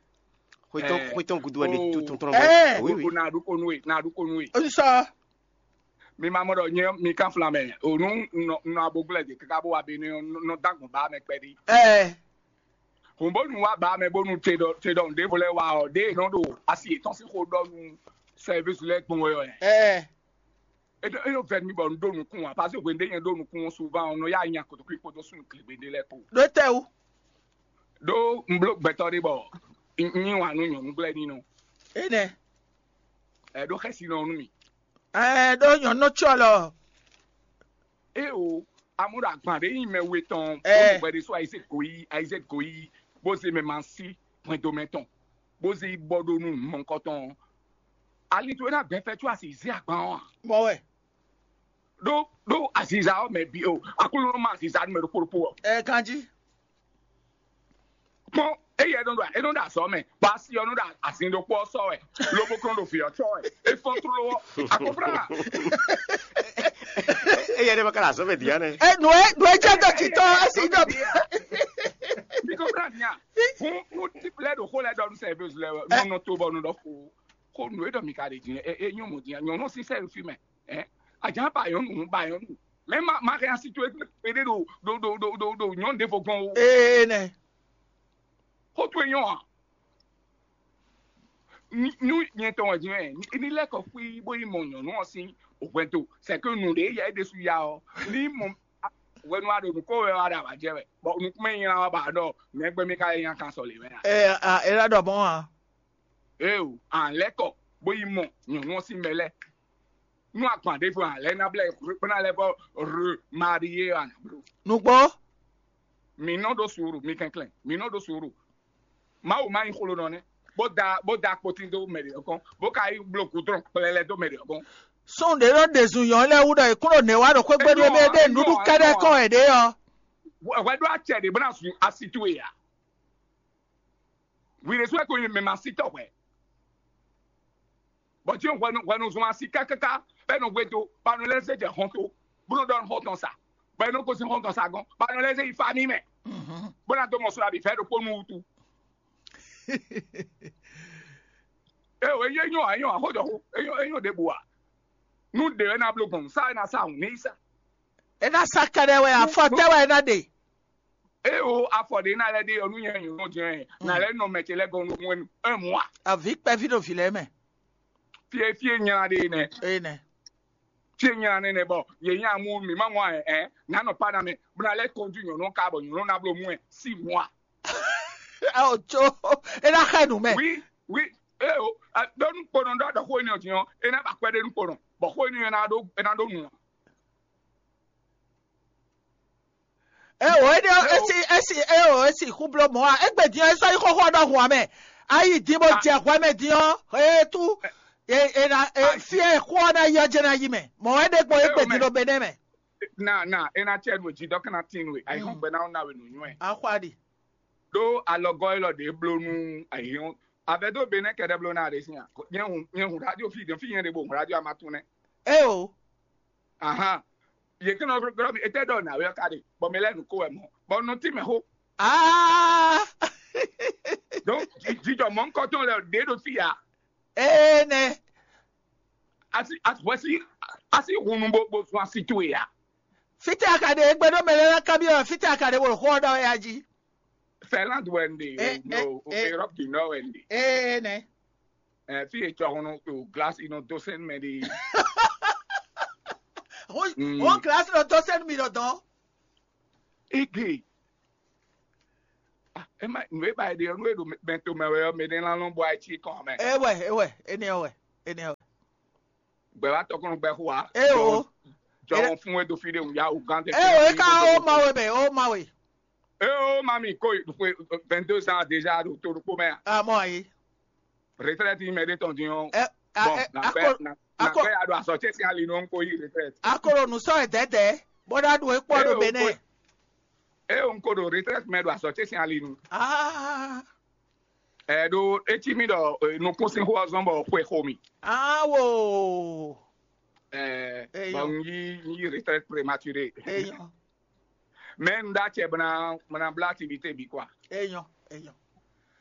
Xwetɔn xwetɔn gudu wɛ ɖe tuntun tɔn bɔ. Ɛɛ. Oui oui. Na ɖukonu ye na ɖukonu ye. Osisɔ. Mi ma mɔ ɖɔ nyɛ mi kan flan mɛ o nu nɔ nɔ aboglɛ de kaka bó wa be ne nɔ dagbɔn ba mɛ kpɛɖi. Ɛɛ. Hɔn bónú wa ba mɛ bónú te ɖɔ te ɖɔ nɖěvo lɛ́ɛ wa ɔ ɖé nɔ ɖo asi yětɔn sín xó ɖɔ nú sɛvísi lɛ́ɛ gbɔn wɛ ɔ. Ɛɛ. Eɖo eɖo vɛ mi bɔ un ɖo nukún wa parce que hwenu ɖé nyɛ ɖo nukún ɔ́ souvent ɔ́ nɔ ya nya kotokwi kpódó súnnu kligbe ɖé lɛ́ɛ kpo. Ɖó tɛ wú. Ɖó un bló gbɛtɔ́ ɖé bɔ un nyi wǎn nú nyɔ̌nu gblɛ́ nínɔ. Énɛ́. Ɛ ɖó xɛsi nɔ nú mi. Ɛ ɖó nyɔ̌nu tsɔ lɔ. É o, amú ɖo agban ɖé nyi mɛ we tɔn bó bɔ ɖé só ayizé goyí ayizé goyí bó zé mɛ ma sí hwɛndo mɛ tɔn bó zé yi bɔ ɖó nú mɔnkɔ tɔn. Ali towe ná gbɛn fɛ có asi zé agban ɔ́ a? Mɔ wɛ. Ɖó ɖó aziza ɔ́ mɛ bi o, aklúnɔ ma aziza nú mɛ ɖokpó ɖokpó ɔ́. Ɛ ganjí. Kpɔn eye é nɔ ɖo é nɔ ɖo azɔ̌ mɛ, bɔ asi ɔ́ nɔ ɖo azin ɖokpó ɔ́ sɔ́ wɛ, lobo kɔn ɖo vǐ ɔ́ cɔ́ wɛ, é fɔ́n tló ɔ́, akɔflá. Eye ɖe ma ka ɖo azɔ̌ mɛ dia nɛ. E nǔ e nǔ e jɛ dɔ titɔ esi dɔ bi. Mi kɔflá nia, fún nú típlɛ ɖo xó lɛ ɖɔ nú sɛvɛs lɛ nɔ nɔ to bɔ nɔ ɖɔ xó, xó nǔ e ɖɔ mi ka ɖe din e e nyɔ mɔ din nyɔnɔ si sɛ fi mɛ, ɛ, ajan ba yɔn nu ba yɔn nu, mɛ ma ma hɛn asi to e ɖe ɖo ɖo ɖo ɖo ɖo ɖo nyɔnu ɖe fɔ gbɔn o. Ee nɛ. Xó to e nyɔ a? Nú nyɛ tɔn wɛ din ɛ, ní lɛ́ kɔ xwí bó yi mɔ nyɔ̌nu ɔ́ sín hwɛndo, sɛkɛ nǔɖé yɛ é ɖésú ya ɔ́, ní mɔ hwenu a ɖo nǔ kó wɛ wá ɖo avǎ jɛ wɛ, bɔ nukúnmɛ nylá wá ba ɖɔ mɛgbɛ mi ka lɛ nya kan sɔ lě wɛ a? Ɛ a é ɖɔ ɖɔ mɔ̌ a? Eo, a lɛ́ kɔ bó yi mɔ nyɔ̌nu ɔ́ sín mɛ lɛ́ɛ. Nú agban ɖěvo a lɛ́ ná blɛ́ bó ná lɛ́ vɔ re marié a nǎ bló. Nǔgbó. Mǐ nɔ ɖó suúru, mi kɛnklɛ́n, mǐ nɔ ɖó suúru. Mawu ma nyí xlonɔ nɛ́, bó da bó da kpotín dó mɛ ɖě ɔ́ kɔn, bó ka yi bló gǔdrɔn kplɛlɛ dó mɛ ɖě ɔ́ kɔn. Sɔ́n ɖě nɔ ɖe zun nyɔ̌nu lɛ́ɛ wú ɖɔ è kún ɖo nɛ̌ wa ɖo xwé gbe ɖé mɛ ɖé nǔɖuɖu kɛ́ɖɛ́ kɔn è ɖě ɔ́. Hwɛ ɖó acɛ ɖě bó ná zun asi towe ǎ. Hwi ɖésú wɛ ko nyi mɛ ma sí tɔ́ hwɛ. Bɔ tí hwɛnu hwɛnu zun asi kákáká bɔ é nɔ hwe dó, bɔ a nɔ lɛ́ zé jɛ hɔn tó, bó nɔ ɖɔ xɔ tɔn sa, bɔ é nɔ gosín xɔ tɔn sa gɔ́n, bɔ a nɔ lɛ́ zé yi fá mì mɛ, bó ná dó mɔ sula bǐ fɛ́ ɖokpó nú wútu. Eo, é nyɔ́ ǎ, é nyɔ́ ǎ, xó jɔ xó, é nyɔ́ é nyɔ́ ɖěbǔ ǎ. Nú ɖě wɛ ná bló gbɔn, sá wɛ ná sá hǔn ní yi sá. É ná sá kɛɖɛ wɛ, afɔ tɛ́ wɛ é ná ɖe. Eo, afɔ ɖě ná lɛ́ ɖe ɔ́ nú nyɛ nyɔ̌nu jɛ́n, ná lɛ́ nɔ mɛ ce lɛ́ɛ gɔ́n nú un mɔ a? Avǐ kpɛví ɖo vǐ lɛ́ɛ mɛ. Fie fie nyla ɖe nɛ. Eye nɛ. Fie nyla nɛ nɛ bɔ yě nya mú mǐ má mɔ ɛ ɛ, nǎ nɔ pa ná mɛ, bó ná lɛ́ kɔnjú nyɔ̌nu ɔ́ ká bɔ nyɔ̌nu ɔ́ ná bló mú ɛ sí mɔ a? Ao tso, é ná xɛ nǔ mɛ. Oui, oui. Eo, ɖó nukpɔnɔ ɖɔ ɖɔ xó énɛ́ ɔ́ din ɔ́, é ná ba kwɛ́ ɖé nukpɔnɔ, bɔ xó énɛ́ ɔ́ ná ɖó é ná ɖó nǔ. Eo, énɛ́ ɔ́, esi esi eo, esi xú bló mɔ̌ a? Égbé din ɔ́, é sɔ́ yí xóxó ɔ́ ɖɔhun ǎ mɛ. Ayi din bó jɛ hwɛ mɛ din ɔ́, é tú e e na e fí e xó ɔ́ ná yi ɔ́ jɛ ná yi mɛ. Mɔ̌ wɛ ɖe gbɔn égbé din ɖo Benɛ́ mɛ. Na na é ná cɛ nú e jí dɔ́ ká ná tín nú e ayihɔn gbɛ ná ná we nǔnywɛ́. Axwa ɖi. Ɖó alɔgɔ́ élɔ́ ɖě bló nú ayihɔn. Avɛ dó Benɛ́ kɛɖɛ bló ná ɖe sín a? Nyɛ hun nyɛ hun radio fi ɖe fi nyɛ ɖe bo hun radio amatún nɛ. Eo, Ahan. Yě kí nɔ glɔ́ mi, étɛ́ ɖɔ nǎwe ɔ́ ka ɖe, bɔ mi lɛ́ nǔ ko wɛ mɔ̌, bɔ un nɔ tín mɛ xó. aa, Donc jijɔ mɔ̌hunkɔtɔn lɛ ɖě ɖo fí ǎ. ee nɛ. Asi asi asi hunu bo bo zun asi towe ǎ. Fítɛ́ a ka ɖe égbé ɖó mɛ lɛ́ɛ ná kanbyɔ́ wɛ fítɛ́ a ka ɖe bó ɖo xó ɔ́ ɖɔ wɛ a jí. Finlande wɛ un ɖe Eh, o eh, eh. Europe du Nord wɛ un ɖe. Ee nɛ. Ɛ, fí e cɔhun o glasi nɔ dó sɛn mɛ ɖi. Wọ́n gíláàsì lọ tó sẹ́nu mi lọ dán. Ege. Ah, ẹ má nù é ba ẹ ɖe ɔ́ nú é ɖo mɛto mɛ wɛ ɔ́ mɛ ɖé ná lɔn bɔ ayé cí kɔn mɛ. Ewɛ, ewɛ, enɛ ɔwɛ, enɛ ɔwɛ. Gbɛ wa tɔkɔn gbɛ xo wa. Eo. Jɔwɔn fún wɛ do fi ɖe wun ya o gan tɛ. Eo, e ka o ma we mɛ, o ma we. Eo mami ko vingt-deux ans déjà ɖo to ɖokpó mɛ. Amɔ ayi. Retraite mɛ ɖé tɔn din ɔ́. Ɛ, a, Bon, ɛ, na akɔ, gbɛ na na akɔ, gbɛ ya ɖo asɔtse sin ali nɔ ko yi retraite. akɔlɔ nu sɔ ɛdɛdɛ, bɔda ɖo ekpɔ ɖo Eo, bɛnɛ. Eo n ko ɖo retraite mɛ ɖo asɔtse sin ali nu. Ah, Ɛ ɖo etsi mi ɖɔ eh, nukún sin xó ɔzɔn bɔ xwe xo mi. ah wo. Ɛ Eyo. Bon n yi n yi retraite prématuré. Eyɔn, Mais n da cɛ bena bena bla activité bi quoi. eyɔn, eyɔn.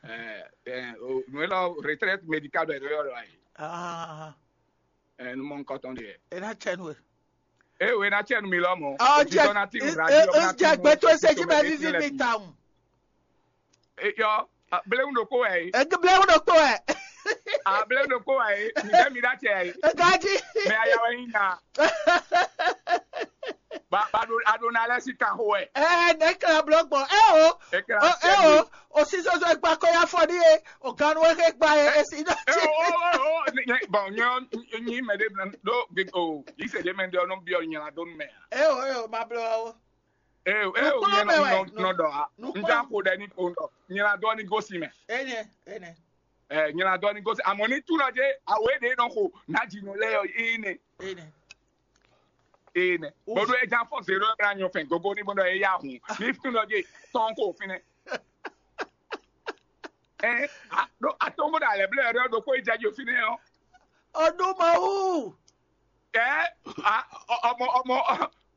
Ɛ ɛ o nu elɔ retraite médicale bɛ ɖo yɔ ɖo ayi. Ah, Ɛ nu mɔ nkɔtɔn de. ena tsɛ nu e. E o ena cɛ nu mi lɔ mɔ. Ɔ jɛ, Otitɔ na ti nu e, radio e, na ti jɛ nu gbɛtɔ otitɔ sesi mɛ mɛ ti vivi lɛ mi bi. ta ŋu. Eyɔ blewu ɖokpo wɛ yi. Ege blewu ɖokpo wɛ. A blewu ɖokpo wɛ yi. Mi bɛ mi da cɛ yi. Ega dzi. Mɛ aya wɛ yi na. Ba ba ɖo aɖo na lɛ si kan xo wɛ. Ɛɛ, ne kla blɔ gbɔn. Eo. Ekla O, eo. O si zozo egba ko ya fɔ ni ye. O ganu we ke gba ye. Esi dɔ E tsi. o o o o ni- ni- bon nyɔ nyi mɛ de do gbe o yi se de mɛ de ɔnɔ bi ɔ nyina do mɛ. Eo, eo, ma blɔ o. E o e o Nukplɔn nyɛ mɛ wɛ, nɔ nɔ dɔ a. nukplɔn. N ja ko dɛ ni ko dɔ nyina dɔ ni gosi mɛ. Ene, ene. Ɛ nyina dɔ ni gosi amɔ ni tu nɔ je awo e de nɔ xo na ji nɔ lɛ yɔ e ne. Ene. Ee nɛ. Uf. Bɔn ɖo ɛja fɔ zero ɛmɛ anyɔ fɛn gogo ní bɔn ɖɔ eya hun ní tún ɖɔ dé tɔn kó fínɛ. Ɛ a ɖo atɔn bó ɖo alɛ blɛ ɖɔ ɖo kó ìjà jò fínɛ ɔ. Ọdún máa wù. Ɛ a ɔ- ọmọ ọmọ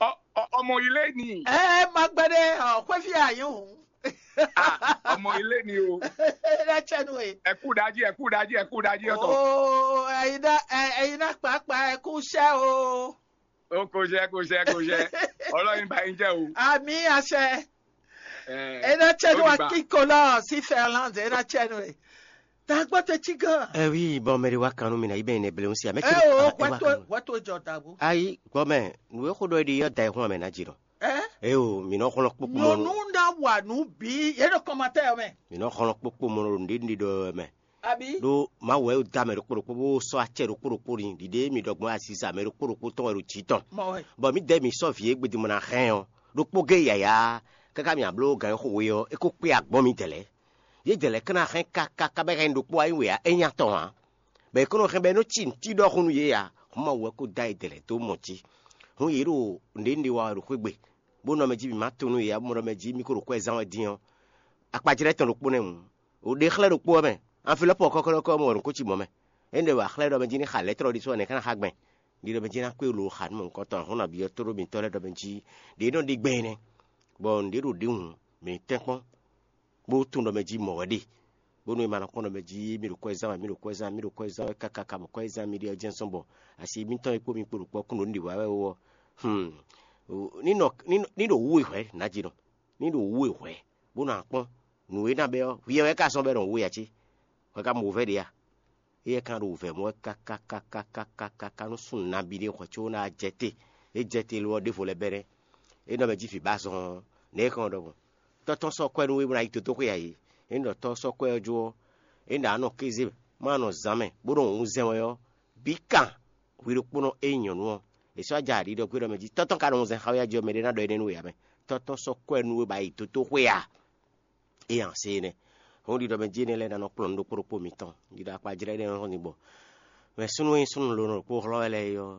ọ- ọ- ọmọ ilé ni. Ẹ máa gbẹ dé ọ̀pẹ́ fi àyè hùn. Ah, ọmọ ilé ni o. Ẹ dá tsẹnu e. Ẹ kú dájí ẹ kú dájí ẹ kú dájí ọtọ. Ooo, ẹ̀yin náà, ẹ- ẹ̀yin náà pàápàá ẹ kú iṣẹ́ o. Ó kò ṣe kò ṣe kò ṣe. Ọlọ́yin bá yín jẹ́ o. Àmì àṣẹ. Ẹ Ẹ dá tsẹnu ó wa dìgbà. kíkó lọ sí Finland, ẹ dá tsẹnu e. Dàgbọ́ tẹ tí gan. Ɛ wi bɔn mɛ ɖe wa kan nú mi na yi bɛ ne bleun si amɛ Ẹ o, wọ́n tó wọ́n tó jọ dàgbò. Ayi gbɔmɛ nu e xo ɖɔ ɖi yɔ da ehun amɛ na dzi nɔ. Ẹ Eo mi nɔ xlɔn kpokpo mɔ nyɔnu na wà nú bí yé ɖo kɔmatɛ mɛ. Mi nɔ xlɔn kpokpo mɔ ɖo nuɖe nuɖe ɖɔ mɛ. Àbí? Ɖo Mawu wɛ da mɛ ɖokpo ɖokpo bó sɔ acɛ ɖokpo ɖokpo ɖi ɖiɖe mi ɖɔ gbɔn aziza mɛ ɖokpo ɖokpo tɔn wɛ ɖo jǐ tɔn. Mɔ wɛ. Bɔ mi dɛ mi sɔ vǐ e gbedimɔ na hɛn ɔ ɖokpo ge yaya kaka mi ablo gan xo we ɔ e ko kpe agbɔn mi dɛlɛ. Ye dɛlɛ kana hɛn kaka kabɛ hɛn ɖokpo ayi we a e nya tɔn a. Bɛ e kɔnɔ hɛn bɛ nɔ ci nti ɖɔ hun ye a. Huma wɛ ko da ye dɛlɛ do mɔ ci. Hun ye ɖo nɖe nɖe wa ɖo xwegbe. Bó nɔ mɛ jí mi ma to nú ye a bó nɔ mɛ jí mi ko ɖo kwɛ zan wɛ din ɔ. Akpajlɛ tɔn ɖokpo nɛ mu. O ɖe xlɛ ɖokpo ɔ mɛ. Anfilɔpɔ kɔkɔlɔkɔ mɔ ɖo ko ci mɔ mɛ. Ene wa xlɛ ɖɔ mɛ jí ní xa lɛtrɔ ɖi sɔ ne kana xa gbɛn. Ɖi ɖɔ mɛ jí ná kpé lo xa nú mɔ nukɔntɔn ahɔn nabí ɔ́ tóɖó mitɔ́ lɛ́ɛ ɖɔ mɛ jí ɖě nɔ ɖi gbɛn nɛ́. Bɔ nǔɖé ɖo ɖě hǔn mɛ tɛ́nkpɔ́n bó tún ɖɔ mɛ jí mɔ̌ wɛ ɖe. Bónú è ma nɔ kpɔ́n ɖɔ mɛ jí mì ɖo kwɛ́ zán wɛ mì ɖo kwɛ́ zán mì ɖo kwɛ́ zán wɛ káká ka bɔ kwɛ́ zán mì ɖe ɔ́ jɛ́n zɔ́n bɔ asi mítɔn e kpó mi kpo ɖo kpɔ́ kún ɖo nǔ ɖi wǎ wɛ ó ɔ́. Hmm. Ní nɔ ní nɔ- ní ɖo wú e hwɛ̌ nǎ jí nɔ. Ní ɖo wú e hwɛ̌ bó nɔ akpɔ́n nǔ e ná bɛ́ ɔ́, hwi ɔ́ wɛ ka zɔ́n bɔ é nɔ wú we ǎ cé? Hwɛ ka mɔ wǔvɛ́ ɖe a? Éyɛ́ ka ɖo wǔvɛ́ mɔ wɛ kákákákákáká nú súnnu nabí ɖé hwɛ có ná jɛ te. É jɛ te lo ɔ́ ɖěvo lɛ́ bɛ́ nɛ́. É nɔ mɛ jí vǐ ba zɔn ɔ́, nɛ̌ é hɛn ɔ́ ɖɔhun? Tɔ́ tɔn sɔ́ kwɛ́ nú we bó ná yi dodóxwé a yě. Ényí ɖɔ tɔ́ ɔ́ sɔ́ kwɛ́ ɔ́ jó ɔ́, ényí ɖɔ a nɔ kéze, má nɔ zǎn mɛ, bó nɔ wǔnzɛn wɛ ɔ́, bǐ kan hwi ɖokpónɔ e nyí nyɔ̌nu ɔ́, è sɔ́ ja ɖiɖɔ gbé ɖɔ mɛ jí tɔ́ tɔn ka nɔ wunzɛn xá wɛ jí ɔ́, mɛɖé ná ɖɔ énɛ́ nú we ǎ mɛ. Tɔ́ tɔn sɔ́ kwɛ́ nú we bɔ a yi dǒtó xwé a? É ǎ se énɛ́. Hɔn ɖiɖɔ mɛ jí énɛ́ lɛ́ɛ ná nɔ kplɔ́n nú ɖokpó ɖokpó mitɔn. Ɖiɖɔ akpajlɛ́ énɛ́ ɔ́ nɔ gbɔ. Mɛ súnnu e súnnu lǒ ɖokpó hlɔ́ wɛ lɛ́ɛ é ɔ́,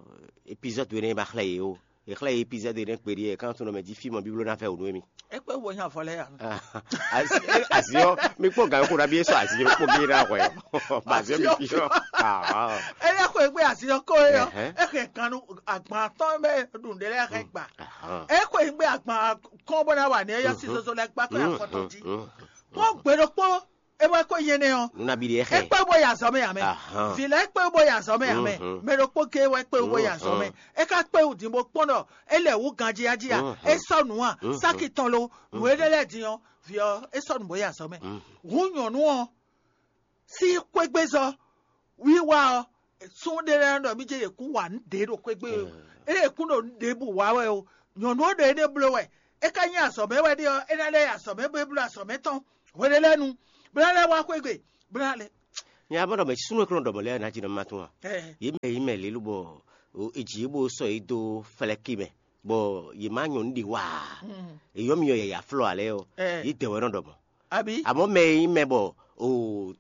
epizɔ́du énɛ́ ma xlɛ́ yě ó. È xlɛ́ yě epizɔ́du énɛ́ kpeɖí wɛ, é ka nɔ tunwun ɖɔ mɛ jí fí mɔ bíbló ná vɛ wǔ nú émí. É kpé wo nya avɔ lɛ́ɛ ya. Azio, mi kpɔ́n gǎn xo ɖabi e sɔ azio kpó gé ná hwɛ ɔ. Azio mi fi ɔ. Ah, ah. Ele xwe gbe azio ko ye ɔ. Ɛhɛn. Exe kan nu agban tɔn bɛ ɖun ɖe lɛ xe gba. Ahán. Exe gbe agban kɔn bɔ na wa ne ya si zozo lɛ gba kɔ ya kɔtɔ ji. Kpɔ́n gbe ɖokpó e wɛ ko yene ɔ. Nuna bi de xe. Ekpe bo ya zɔ me ya me. Ahán. Vi lɛ ekpe bo ya zɔ me ya me. Mɛ ɖokpó ke wɛ kpe bo ya zɔ me. E ka kpe wudin bo kpɔ́n ɖɔ e lɛ wu ganji ya ji ya. E sɔ nu a saki tɔn lo. Nu e ɖe lɛ din ɔ, vi ɔ e sɔ nu bo ya zɔ mɛ. Hu nyɔ̌nu ɔ sín xwégbezɔ wiwa ɔ, sún ɖé lɛ́ɛ ɖɔ mí jɛ yě kún wa nǔ ɖě ɖo xwégbé o. Ée yě kún ɖo nǔ ɖěbǔ wa wɛ o, nyɔ̌nu ɔ́ ɖo énɛ́ bló wɛ. É ka nyí azɔ̌ mɛ wɛ ɖe ɔ́, é ná lɛ́ yi azɔ̌ mɛ bó é bló azɔ̌ mɛ tɔn hweɖé lɛ́ɛ nu, bó ná lɛ́ wá xwégbé, bó ná lɛ́. Nya bɔ ɖɔ mɛ súnnu e kplɔ́n ɖɔ mɔ̌ lɛ́ɛ ná jí nɔ má tún a? Yě mɛ yě mɛ lě lobɔ è jǐ yě bó sɔ́ yě dó flɛ́kí mɛ, bɔ yě má nyɔ̌nu ɖě wa ǎ. È yɔ́ myɔ yɛ̌yá flɔ́ ǎ lɛ́ɛ ɔ́, yě dɛ wɛ nɔ ɖɔ mɔ̌. Abi? Àmọ́ mɛ e nyí mɛ bɔ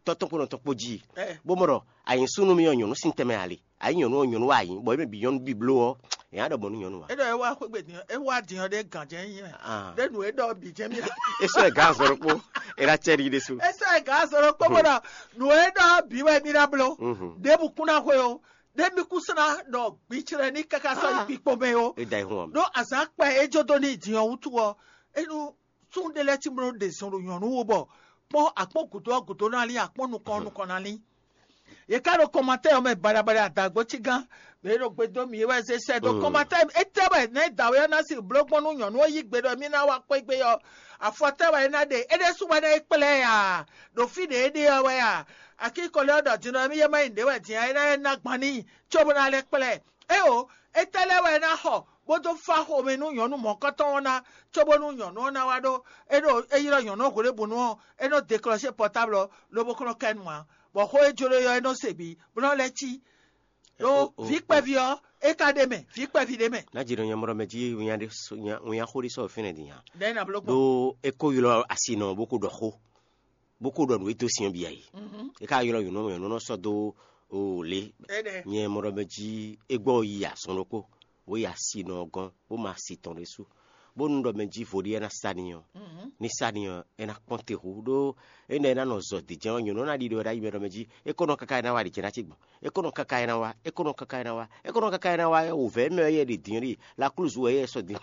tɔ́ tɔn kpó nɔ tɔn kpó jí, bó mɔ ɖɔ a nyǐ súnnu mì ɔ́, nyɔ̌nu sín tɛnmɛ ǎ lé. A nyǐ nyɔ̌nu ɔ́, nyɔ̌nu wɛ a nyǐ, bɔ é mɛ bǐ nyɔ́nu bǐ bló ɔ́, è nǎ ɖɔ mɔ̌ nú nyɔ̌nu ǎ. É ɖɔ é wá xwé gbe din ɔ́, é wá din ɔ́ ɖé gǎn jɛ́n nyí mɛ. Ah. Ɖé nǔ e ɖɔ bǐ jɛ́n mì ná. É sɔ́ ɛ gǎn azɔn ɖokpó, é ná cɛ ɖi ɖésú. É sɔ́ ɛ gǎn azɔn ɖokpó bó ɖɔ nǔ e ɖɔ bǐ wɛ mì ná bló. Mhm. Ɖěbǔ kún ná xwe o. Ɖé mì kún sɔ́ ná ɖɔ gbiclɛ ní káká sɔ́ yi kpikpo mɛ o. É da yi hun ɔ́. Ɖó azǎn kpɛ é jó dó n'i din ɔ́ wútu ɔ́, é nú sún ɖé lɛ́ɛ cí bó nɔ́ ɖe zɔn ɖo nyɔ̌nu wú bɔ kpɔ́n akpɔ́n gǔdo ɔ́ gǔdo ná lín, akpɔ́n nukɔn ɔ́ nukɔn ná lín. Yě ká ɖo kɔmatɛ́ ɔ́ mɛ baɖabaɖa adǎgbó cí gán, mɛ e ɖo gbe dó mì é wɛ zé sɛ́ dó kɔmatɛ́. Étɛ́ wɛ nɛ̌ dǎwe ɔ́ ná sixú bló gbɔn nú nyɔ̌nu ɔ́ yí gbe ɖɔ émí ná wá xwé gbé ɔ́? Afɔ tɛ́ wɛ é ná ɖe? É ɖésú wɛ ná é kplá ɛ a? Ɖo fí ɖě é ɖe ɔ́ wɛ a? Akíkɔlɛ ɔ́ ɖɔ din ɔ́, émí yɛ má nyí nǔɖé wɛ din ɔ́, é ná é ná gban n'i, cóbó ná lɛ́ kplá ɛ. Éeǒ, étɛ́ lɛ́ɛ wɛ é ná xɔ bó dó fá xomɛ nú nyɔ̌nu mɔ̌kɔtɔn ɔ́ ná, cóbónú nyɔ̌nu ɔ́ ná wá ɖó é ɖo é ylɔ́ nyɔ̌nu ɔ́ hwelébǔnu ɔ́, é nɔ́ deklɔ́sé pɔtáblu ɔ́, lobo kɔn nɔ ká ɛ nu ǎ, bɔ xó e jló é ɔ́, é nɔ́ se bǐ, bó nɔ́ lɛ́ cí. Ɖó vǐ kpɛví ɔ́, é ka ɖ'é mɛ, vǐ kpɛví ɖ'é mɛ. Ná jǐ nɔ nyɛ mɔ ɖɔ mɛ jí nya ɖé nya xó ɖé sɔ́ fínɛ́ din nya. Ɖɛ̌ ná bló gbɔn. Ɖó é kó ylɔ́ asi nɔ bó kó ɖɔ xó, bó kó ɖɔ nǔ e dó sin ɔ́ bǐ ǎ é. É ka ylɔ́ nyɔ̌nu, nyɔ̌nu nɔ sɔ́ dó o lě. Nyɛ mɔ ɖɔ mɛ jí é gbɔ yi azɔn ɖokpó, bó yi asi nɔ ɔ́ gɔ́n, bó ma asi tɔn ɖésú, bónú ɖɔ mɛ jí vo ɖé é ná sa n'i ɔ́, ní sa n'i ɔ́, é ná kpɔ́n te hú, ɖó énɛ́ é ná nɔ zɔ dǐjɛ́n ɔ́, nyɔ̌nu ɔ́ ná ɖi ɖɔ é ná yi mɛ ɖɔ mɛ jí é kó nɔ káká é ná wá ɖi jɛ ná ce gbɔn, é kó nɔ káká é ná wá, é kó nɔ káká é ná wá, é kó nɔ káká é ná wá, wǔvɛ́ mɛ ɔ́ yɛ ɖi dǐn ɔ́ ɖi, la klúzu wɛ yɛ sɔ dǐn.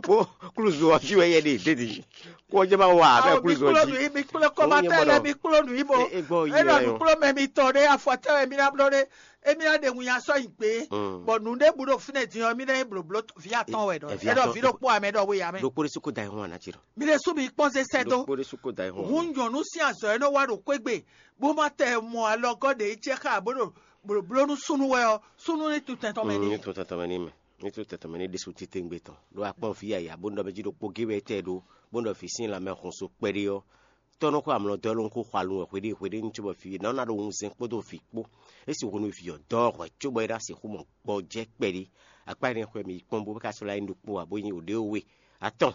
Bó klúzu ɔ́ jí wɛ yɛ ɖi dé dǐ. Kó jẹ́ bá wà bẹ́ẹ̀ Awo mi klúzu kplɔ́ jí. Nu yìí, mi kplɔ́ kɔmatɛ lɛ, mi kplɔ́ nu yìí bɔ. E gbɔ yi Enɔ yɛ nu yɔ. Kplɔ́ mɛ mi tɔn ɖe afɔtɛ wɛ mi na blɔ ɖe. Emi na ɖe ŋun ya sɔ yi gbe. Bɔ nu ɖe bu ɖo fínɛ din ɔ, mi na yi bloblo vi atɔn wɛ ɖɔ. Ɛnɔ vi ɖokpó amɛ ɖɔ wé ya mɛ. Ɖokpó ɖé su kó da ihun ana tsi ɖɔ. Mi ɖe su mi kpɔn se sɛ do. Ɖokpó ɖé su kó da ihun. Hun nyɔnu sin azɔ yɛ nɔ wa ɖo kwegbe. Bó ma tɛ mɔ alɔgɔ ɖe yi tsɛ xa bó ɖo bloblo nu sunu wɛ ɔ, sunu ni tu tɛntɔn mɛ ni. Ni tu tɛntɔn mɛ ni mɛ. Ní tó tɛtɛ mɛ ní ɖésú titewungbe tɔn ɖó akpɔ́n vǐ yaya bó nɔ mɛ jí ɖokpó gé wɛ tɛ ɖó bó nɔ vǐ sín lanmɛ hun so kpɛɖé ɔ́, tɔ́ nɔ xó amlɔ dɔ́ ló ń xó xwalun wɛ hweɖée hweɖée ní cóbɔ vǐ nǎ ná ɖo wunzɛn kpódó vǐ kpó. É sixú nú vǐ ɔ́ dɔ́ hwɛ cóbɔ é ná sixú mɔ gbɔjɛ́ kpɛɖé. Akpá énɛ́ xwɛ mi yi kpɔ́n bó ká sɔ́ lá nyí ɖokpó ǎ bó nyí wǒɖéwé atɔ́n.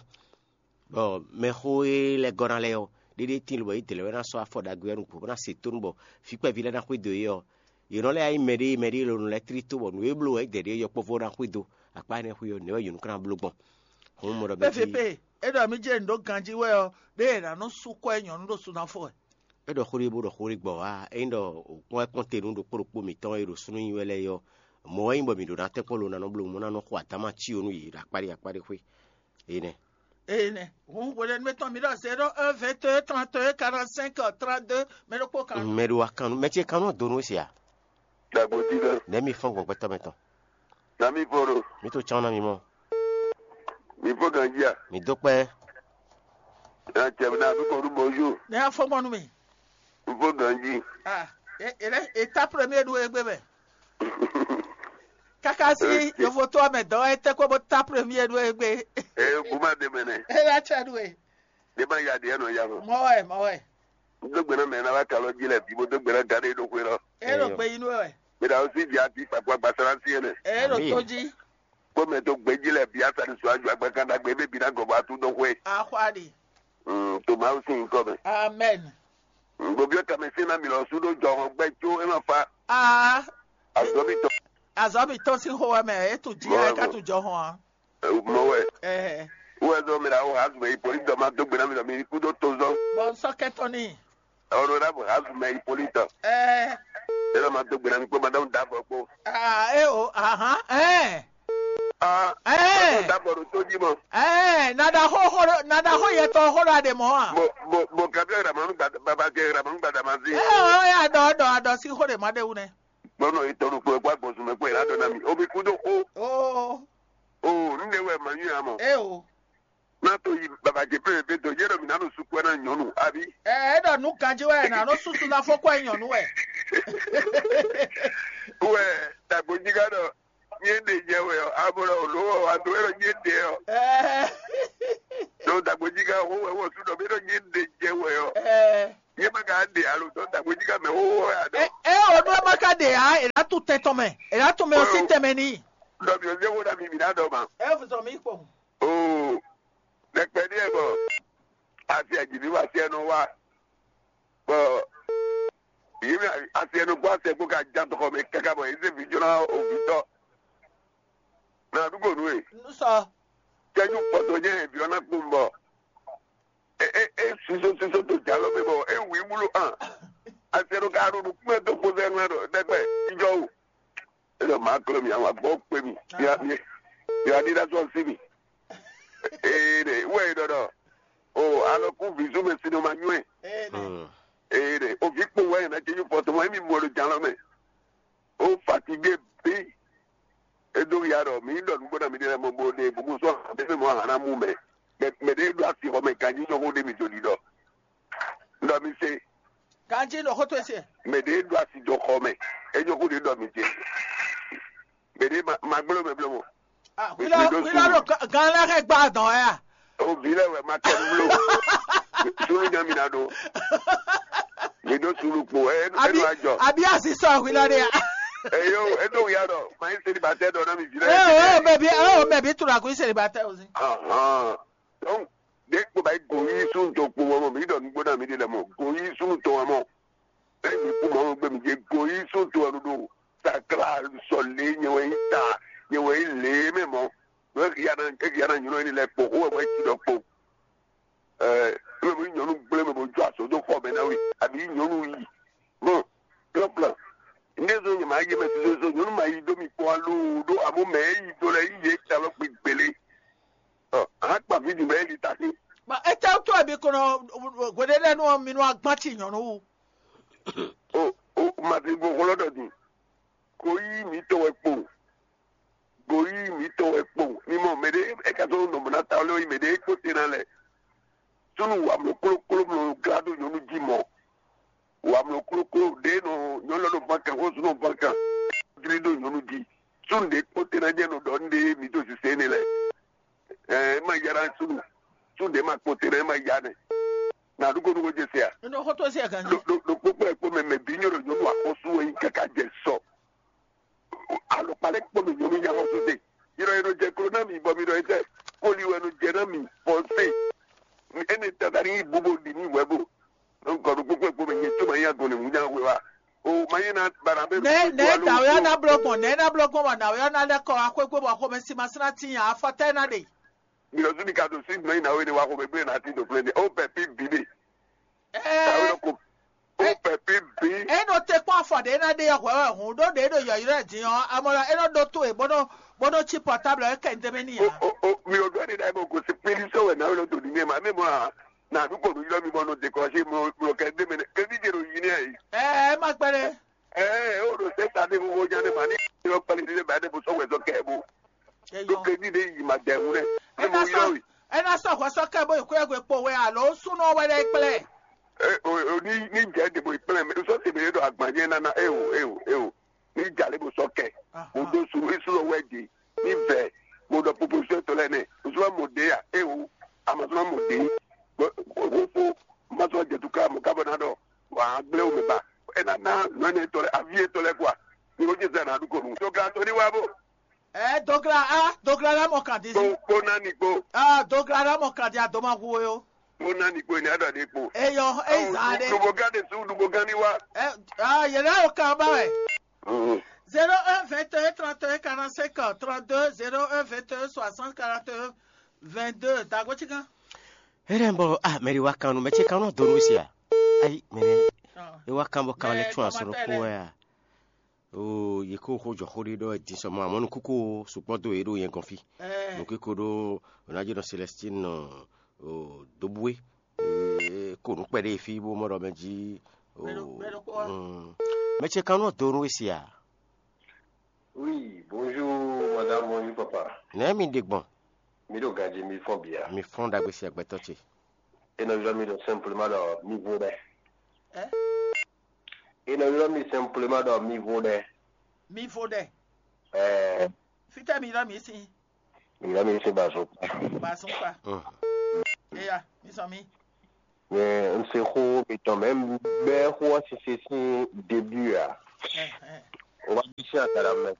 Bɔ mɛxó e lɛ́ gɔ́ ná lɛ́ɛ ɔ́, ɖéɖé tíin lobɔ yě dlɛ̌ wɛ ná sɔ́ afɔ ɖagbe ɔ́ nukún bó ná se tónú bɔ fí kpɛví lɛ́ɛ ná xwedó yě ɔ́, yě nɔ lɛ́ yá nyí mɛɖée mɛɖée e lɔ nɔ lɛ́ tlí tó bɔ nǔ e bló wɛ é dɛ ɖě yɔkpɔ́vú ɔ́ ná xwedó. Akpá énɛ́ xwé ɔ́, nɛ̌ wɛ yǒnú ká ná bló gbɔn? Hǔn mɔ ɖɔ mɛ jí P V P, é ɖɔ mí jɛ nǔ ɖó ganjí wɛ ɔ́, ɖé è nǎ nɔ sú kɔ ɛ nyɔ̌nu ɖo sunafɔ wɛ. É ɖɔ xó ɖé bó ɖɔ xó ɖé gbɔ wá, ényí ɖɔ kpɔ́n wɛ kpɔ́n te nú ɖokpó ɖokpó mǐtɔn e ɖo súnnu nyi wɛ lɛ́ɛ é ɔ́, mɔ̌ wɛ nyí bɔ mǐ ɖǒ ná tɛ́nkpɔ́n lo ná nɔ bló mɔ ná nɔ xo adǎma cí ó nú yě ɖo akpáɖí akpáɖí xwé. Énɛ́. Ene. Hun hwelɛ́númɛtɔn mi ɖɔ zéro un vingt et un trente et un quarante cinq trente deux mɛ ɖokpó kan. Mɛ ɖo wa kan mɛ ce kan nɔ do nú se a? Dagbo ti lɛ. Nɛ mi fɔn gbɔgbɛtɔ mɛ tɔn. Na mi fɔ ɖo. Mi to chan na mi mɔ. Mi fɔ ganji a. Mi do kpɛ. Na cɛ na mi kɔ nu bonjour. Ne y'a fɔ gbɔn nú mi. N fɔ ganji. Ah, e e lɛ e ta premier ɖu egbe mɛ. Kaka si yovo to amɛ dɔ e tɛ ko bo ta premier ɖu egbe. Ee kuma de mɛ nɛ. E la cɛ ɖu e. Ɖé ma ya ɖě nɔ ya mɔ. Mɔ wɛ, mɔ wɛ. Dó gbe ná mɛ ná wá kalɔ jí lɛ bí bó dó gbe ná gán ɖé ɖó xwé lɔ. É ɖo Eyɔ. Gbe yín wɛ. Mɛ ná sí di ati kpakpa gbasara sí ɛnɛ. É ɖo Amín. Tó jí. Kpó mɛ tó gbé jí lɛ bí asadi sɔ aju agbakan ɖagbe bɛ bí ná gɔbɔ atu dó xwé. Axwa ɖi. Mm, to Mawu sín nyǐkɔ mɛ. Amen. Mm, Gobiɔ kamɛ sín ná mi lɔ sú ɖó jɔhɔn gbɛ có é ma fa. Ah, Azɔbitɔ. Azɔbitɔ sín xó wɛ mɛ é tu jí Mɔ wɛ ɛ ká mɔ. Tu jɔhɔn a. Mɔ wɛ. Ɛhɛ. Wɛ zɔ mi la wo hazu mɛ ipolitɔ ma dó gbe ná mi lɔ mi kú dó to zɔ. Bɔ sɔ kɛtɔ ni. Ɔnɔ na bo hazu mɛ ipolitɔ. Ɛɛ. Ela ma dó gbe ná mi kpó madame dabɔ kpó. Ah, é o, ahan, ɛɛ. Ah, Ɛɛ. Madame dabɔ ɖo tó jí mɔ. Ɛɛ, nada xó xó nada xó yɛ tɔ xó ɖa ɖe mɔ a. Bo bo bo kabi ɛ ramanu gbada baba kɛ ramanu gbada ma zi. Ɛ o ya dɔ dɔ adɔ si xó ɖe ma ɖe wu nɛ. Gbɔnɔ itɔ ɖo kpɛ kó agbɔsùn mɛ kó ɛ ládɔ ná mi. Omi kú dó xó. Oo. O, nɖe wɛ ma nyú ya mɔ. É o. Ná to yi baba jɛ pɛpɛpɛ dɔ yɛ ɖɔ mi ná ɖo sukpɛ ná nyɔnu abi. Ɛ é ɖɔ nú ganjí wɛ ná nɔ susu ná fɔ kɔ nyɔnu wɛ. Wɛ dagbojiga ɖɔ nyɛ ɖe jɛ wɛ ɔ abo ɖɔ olo ɔ ado wɛ ɖɔ nyɛ ɖe ɔ. Ɛ Ɖo dagbojiga ho wɛ wɔ su ɖɔ mi ɖɔ nyɛ ɖe jɛ wɛ ɔ. Ɛ Nyɛ ma ka ɖe alo tɔ dagbojiga mɛ ho wɛ a ɖɔ. Ɛ ɛ o ɖɔ ma ka ɖe a ɛ la tu tɛn tɔn mɛ ɛ la tu mɛ o si tɛn mɛ ni. Ɖɔ mi ɔ jɛ wo ɖa mi mi na ɖɔ ma. Ɛ fuzɔ mi kpɔn. Oo, ɖɛkpɛ ɖíe bɔ asi ajivi wa asi ɛnɔ wa bɔ yìí mi asi ɛnɔ gbɔ asi ɛgbó ka ja tɔxɔ mɛ kaka bɔ yìí se vijɔna ovitɔ na ɖugo nu e Nusɔ. Kɛju kpɔtɔ nyɛ vijɔna kpɔn bɔ e e e suso suso to jalɔ mɛ bɔ e wi wúlò hàn asi ɛnɔ ka ɖo ɖo kúmɛ tó kpɔtɔ ɛnɔ ɖɔ ɖɛkpɛ ijɔ o. Ele ma klɔ́ mi, àwọn àgbọ̀ pé mi. Ya mi ya ní dá sọ sí mi. Ee ɖe wɛ yi ɖɔɖɔ. O alɔ kú vǐzú mɛ sinɔ ma nyɔ́ ɛ. Ee ɖe o vǐ kpo wɛ yẹn ná jẹ́ yín fɔ tɔmɔ émi mɔ ɖo jan lɔ mɛ. O fatigué bí. E dó ya ɖɔ mi ɖɔ nǔgbó na mi ɖe lɛ mɔ bo ɖe gbogbo sɔ hàn ɖe mɛ mɔ hàn ná mú mɛ. Mɛ mɛ ɖe ɖo asi xɔ mɛ ganjí nyɔ́ xó ɖe mi do ɖiɖɔ. Ɖɔ mi se. Ganjí nɔ xótó ese. Mɛ ɖe ɖo asi jɔ xɔ mɛ. E nyɔ́ xó ɖe ɖɔ mi se. Mɛ ɖe ma ma gbló mɛ bló mɔ. Ah, wílɔ wílɔ ɖo gan lɛ xɛ gbá dɔn ya. O vǐ lɛ wɛ ma kɛ bló. Sulu nya mi na ɖo. Mi ɖo sulu kpo. E e Abi ɖo ajɔ. Abi asi sɔ wílɔ ɖe ya. Eyo, e ɖo ya ɖɔ. Ma yi seli ba tɛ ɖɔ na mi vǐ lɛ. Ee o mɛ bi o mɛ bi tura ko iseli ba tɛ o si. Ahan. Donc ɖe kpo ba yi go yi sun to kpo mɔ mi ɖɔ nugbo na mi ɖe lɛ mɔ. Go yi sun to mɔ. Emi kú mɔ gbé mi jɛ go yi sún to ɛnu ɖo sakla sɔ lé nyɛ wɛ yi ta nyɛ wɛ yi lé mɛ mɔ. Eki ya na eki ya na nyɔnɔ yi lɛ kpo xó wɛ ti ɖɔ kpo. Ɛɛ eme mo nyɔnu gblé mɛ bo jɔ asɔ do xɔ mɛ na wi abi nyɔnu yi. Bon, plan plan. Ne zo nyɛ ma yi mɛ soso nyɔnu ma yi do mi kpɔ alo do amo mɛ yi do lɛ yi yɛ ta lɔ kpi gbélé. Ɔ, a kpa vi dun bɛ yi ta si. Ba ete to ebi kono gwede lɛ nu mi nu agban ti nyɔnu wu. O o mati gbogbo lɔ dɔ din. Ko yi mi tɔ wɛ kpo. Ko yi mi tɔ wɛ kpo. Ni mɔ mɛ de e ka to nɔ mɔ na ta lɛ yi mɛ de e kpo te na lɛ. Sunu wa mlɔ klo klo mlɔ gra do nyɔnu ji mɔ. Wa mlɔ klo klo de nɔ nyɔnu lɔ nɔ bankan ko sunu bankan. Dri do nyɔnu ji. Sunu de kpo te na jɛ nɔ dɔ nde mi to sise ne lɛ. Ɛ ma yara sunu. Sunu de ma kpo te na ma ya ne. Na ɖu ko nugo jɛ se a. Nɔ xɔtɔ se a kan. Ɖo ɖo ɖo kpokpo ɛ kpo mɛ mɛ bi nyɔ ɖo nyɔnu akɔsu wɛ yi kaka jɛ sɔ. Alɔkpa lɛ kpo mɛ nyɔnu nya xɔsu se. Yɔrɔ yɛ nɔ jɛ klo na mi bɔ mi ɖɔ yɛ tɛ. Koli wɛ nɔ jɛ na mi fɔ se. Ene tata ni bubo di mi wɛ bo. Nɔ gɔ ɖo kpokpo ɛ kpo mɛ nyɛ tso ma yi agɔn ne mu nya wɛ wa. O ma yi na bara bɛ. Nɛ nɛ dawe ana blɔ gbɔn nɛ na blɔ gbɔn ma dawe ana lɛ kɔ akɔe gbɔ bɔ xɔmɛ si ma sina ti nya afɔtɛ na de. Mìlɔzu ni ka ɖo sí nɔ yi na wé ne wa xɔmɛ gblé na ti do gblé ne o pɛ pi bi de. Tawe Ɛɛ, lɔ ko o pɛ pi bi. Enɔ te kpɔn afɔ ɖe na ɖe hwɛ wɛ hun ɖo ɖe ɖo yɔyrɔ din ɔ amɔ lɔ enɔ ɖo to e bɔnɔ bɔnɔ tsi pɔtabl ɛ kɛ ŋdɛmɛ ni O ya. O o mìlɔzu ɛni na ebo ko si pili sɔ wɛ na wé lɔ to ni ne ma ne mɔ a na du ko nu yɔ mi bɔ nɔ dekɔrɔsi mɔ mɔ kɛ de mɛ ne kɛ di de ɖo yi ne ayi. Ɛɛ ma gbɛ ɖe. Ɛɛ o ɖo sɛ ta de ko ko nya ne ma ni yɔ kpali de ba de bo sɔ wɛ sɔ kɛ bo. Ɖó Eyɔ. Kredit ɖé yi ma dɛ ŋu ɖe. Ena Emu sɔ yɔ yi. Ena sɔ hwɛsɔ kɛ bo yi kúyɛgbe kpo wɛ alo súnɔ wɛ ɖe kplɛ. Ɛ, o- o- Ní ní jẹ́ dìbò ìpínlẹ̀ mi sọ tèmi lé dọ̀ àgbàjẹ́ nana eo eo eo. Ní jalè bó sọ kẹ. Mo dó sùn ìṣúná wẹ́ di. Ní vẹ̀ mo dọ̀ proposition tó lẹ́nu. Ìṣúná mo dé yà eo. Àmọ́ ìṣúná mo dé. Aɖukonu. Doglanu ní wá bó. Ɛ dogla a dogla la mɔ kan di kpó si. Kpó ná ní kpó. A dogla la mɔ kan di a doma hu o. Kpó ná ní kpó ní aɖɔ ní kpó. Eyɔ eyi zan ɖe. Ɖubo gán de su ɖubo gán ní wá. Ɛ a yɛlɛ o kan ba wɛ. Mhm. Zéro un vingt et un trente et un quarante-cinq trente-deux, zéro un vingt et un soixante quarante-un vingt-deux. Dago ci kan. Ere bɔ ah mɛri wa kan nu mɛ ce kan nɔ do nu sia. Ayi mɛ e wa kan bɔ kan lɛ tún asɔrɔ ko wɛ a. Oo, yě kó xó jɔ xó ɖé ɖɔ din sɔ mɔ amɔ̌ nukúkú sukpɔ́ dó yě ɖo nyɛ gɔ́n fí. Nukúkú ɖó Ronaldinho Celestine nɔ Dobue. Kó nǔ kpɛɖé fí bó mɔ ɖɔ mɛ jí. Mɛ ce kan nɔ do nú we se a? Oui, bonjour madame, bonjour papa. Nɛ̌ mi ɖe gbɔn? Mi ɖo ganjí mi fɔ́n bǐ a? Mi fɔ́n ɖagbe se agbɛtɔ́ ce. E nɔ ylɔ́ mi ɖɔ simplement ɖɔ mi vo ɖɛ. Ɛ? E nɔ ylɔ́ mi simplement ɖɔ mi vo ɖɛ. Mi vo ɖɛ. Ɛɛ. Fítɛ́ mi ylɔ́ mi sín? Mi ylɔ́ mi sín bazɔn kpa. Bazɔn kpa. Eya, mi sɔ mi. Mɛ un se xó mitɔn mɛ un bɛ́ xó ɔ́ sise sín début a? Ɛ, ɛ. O wá bɛ́ sín agala mɛ.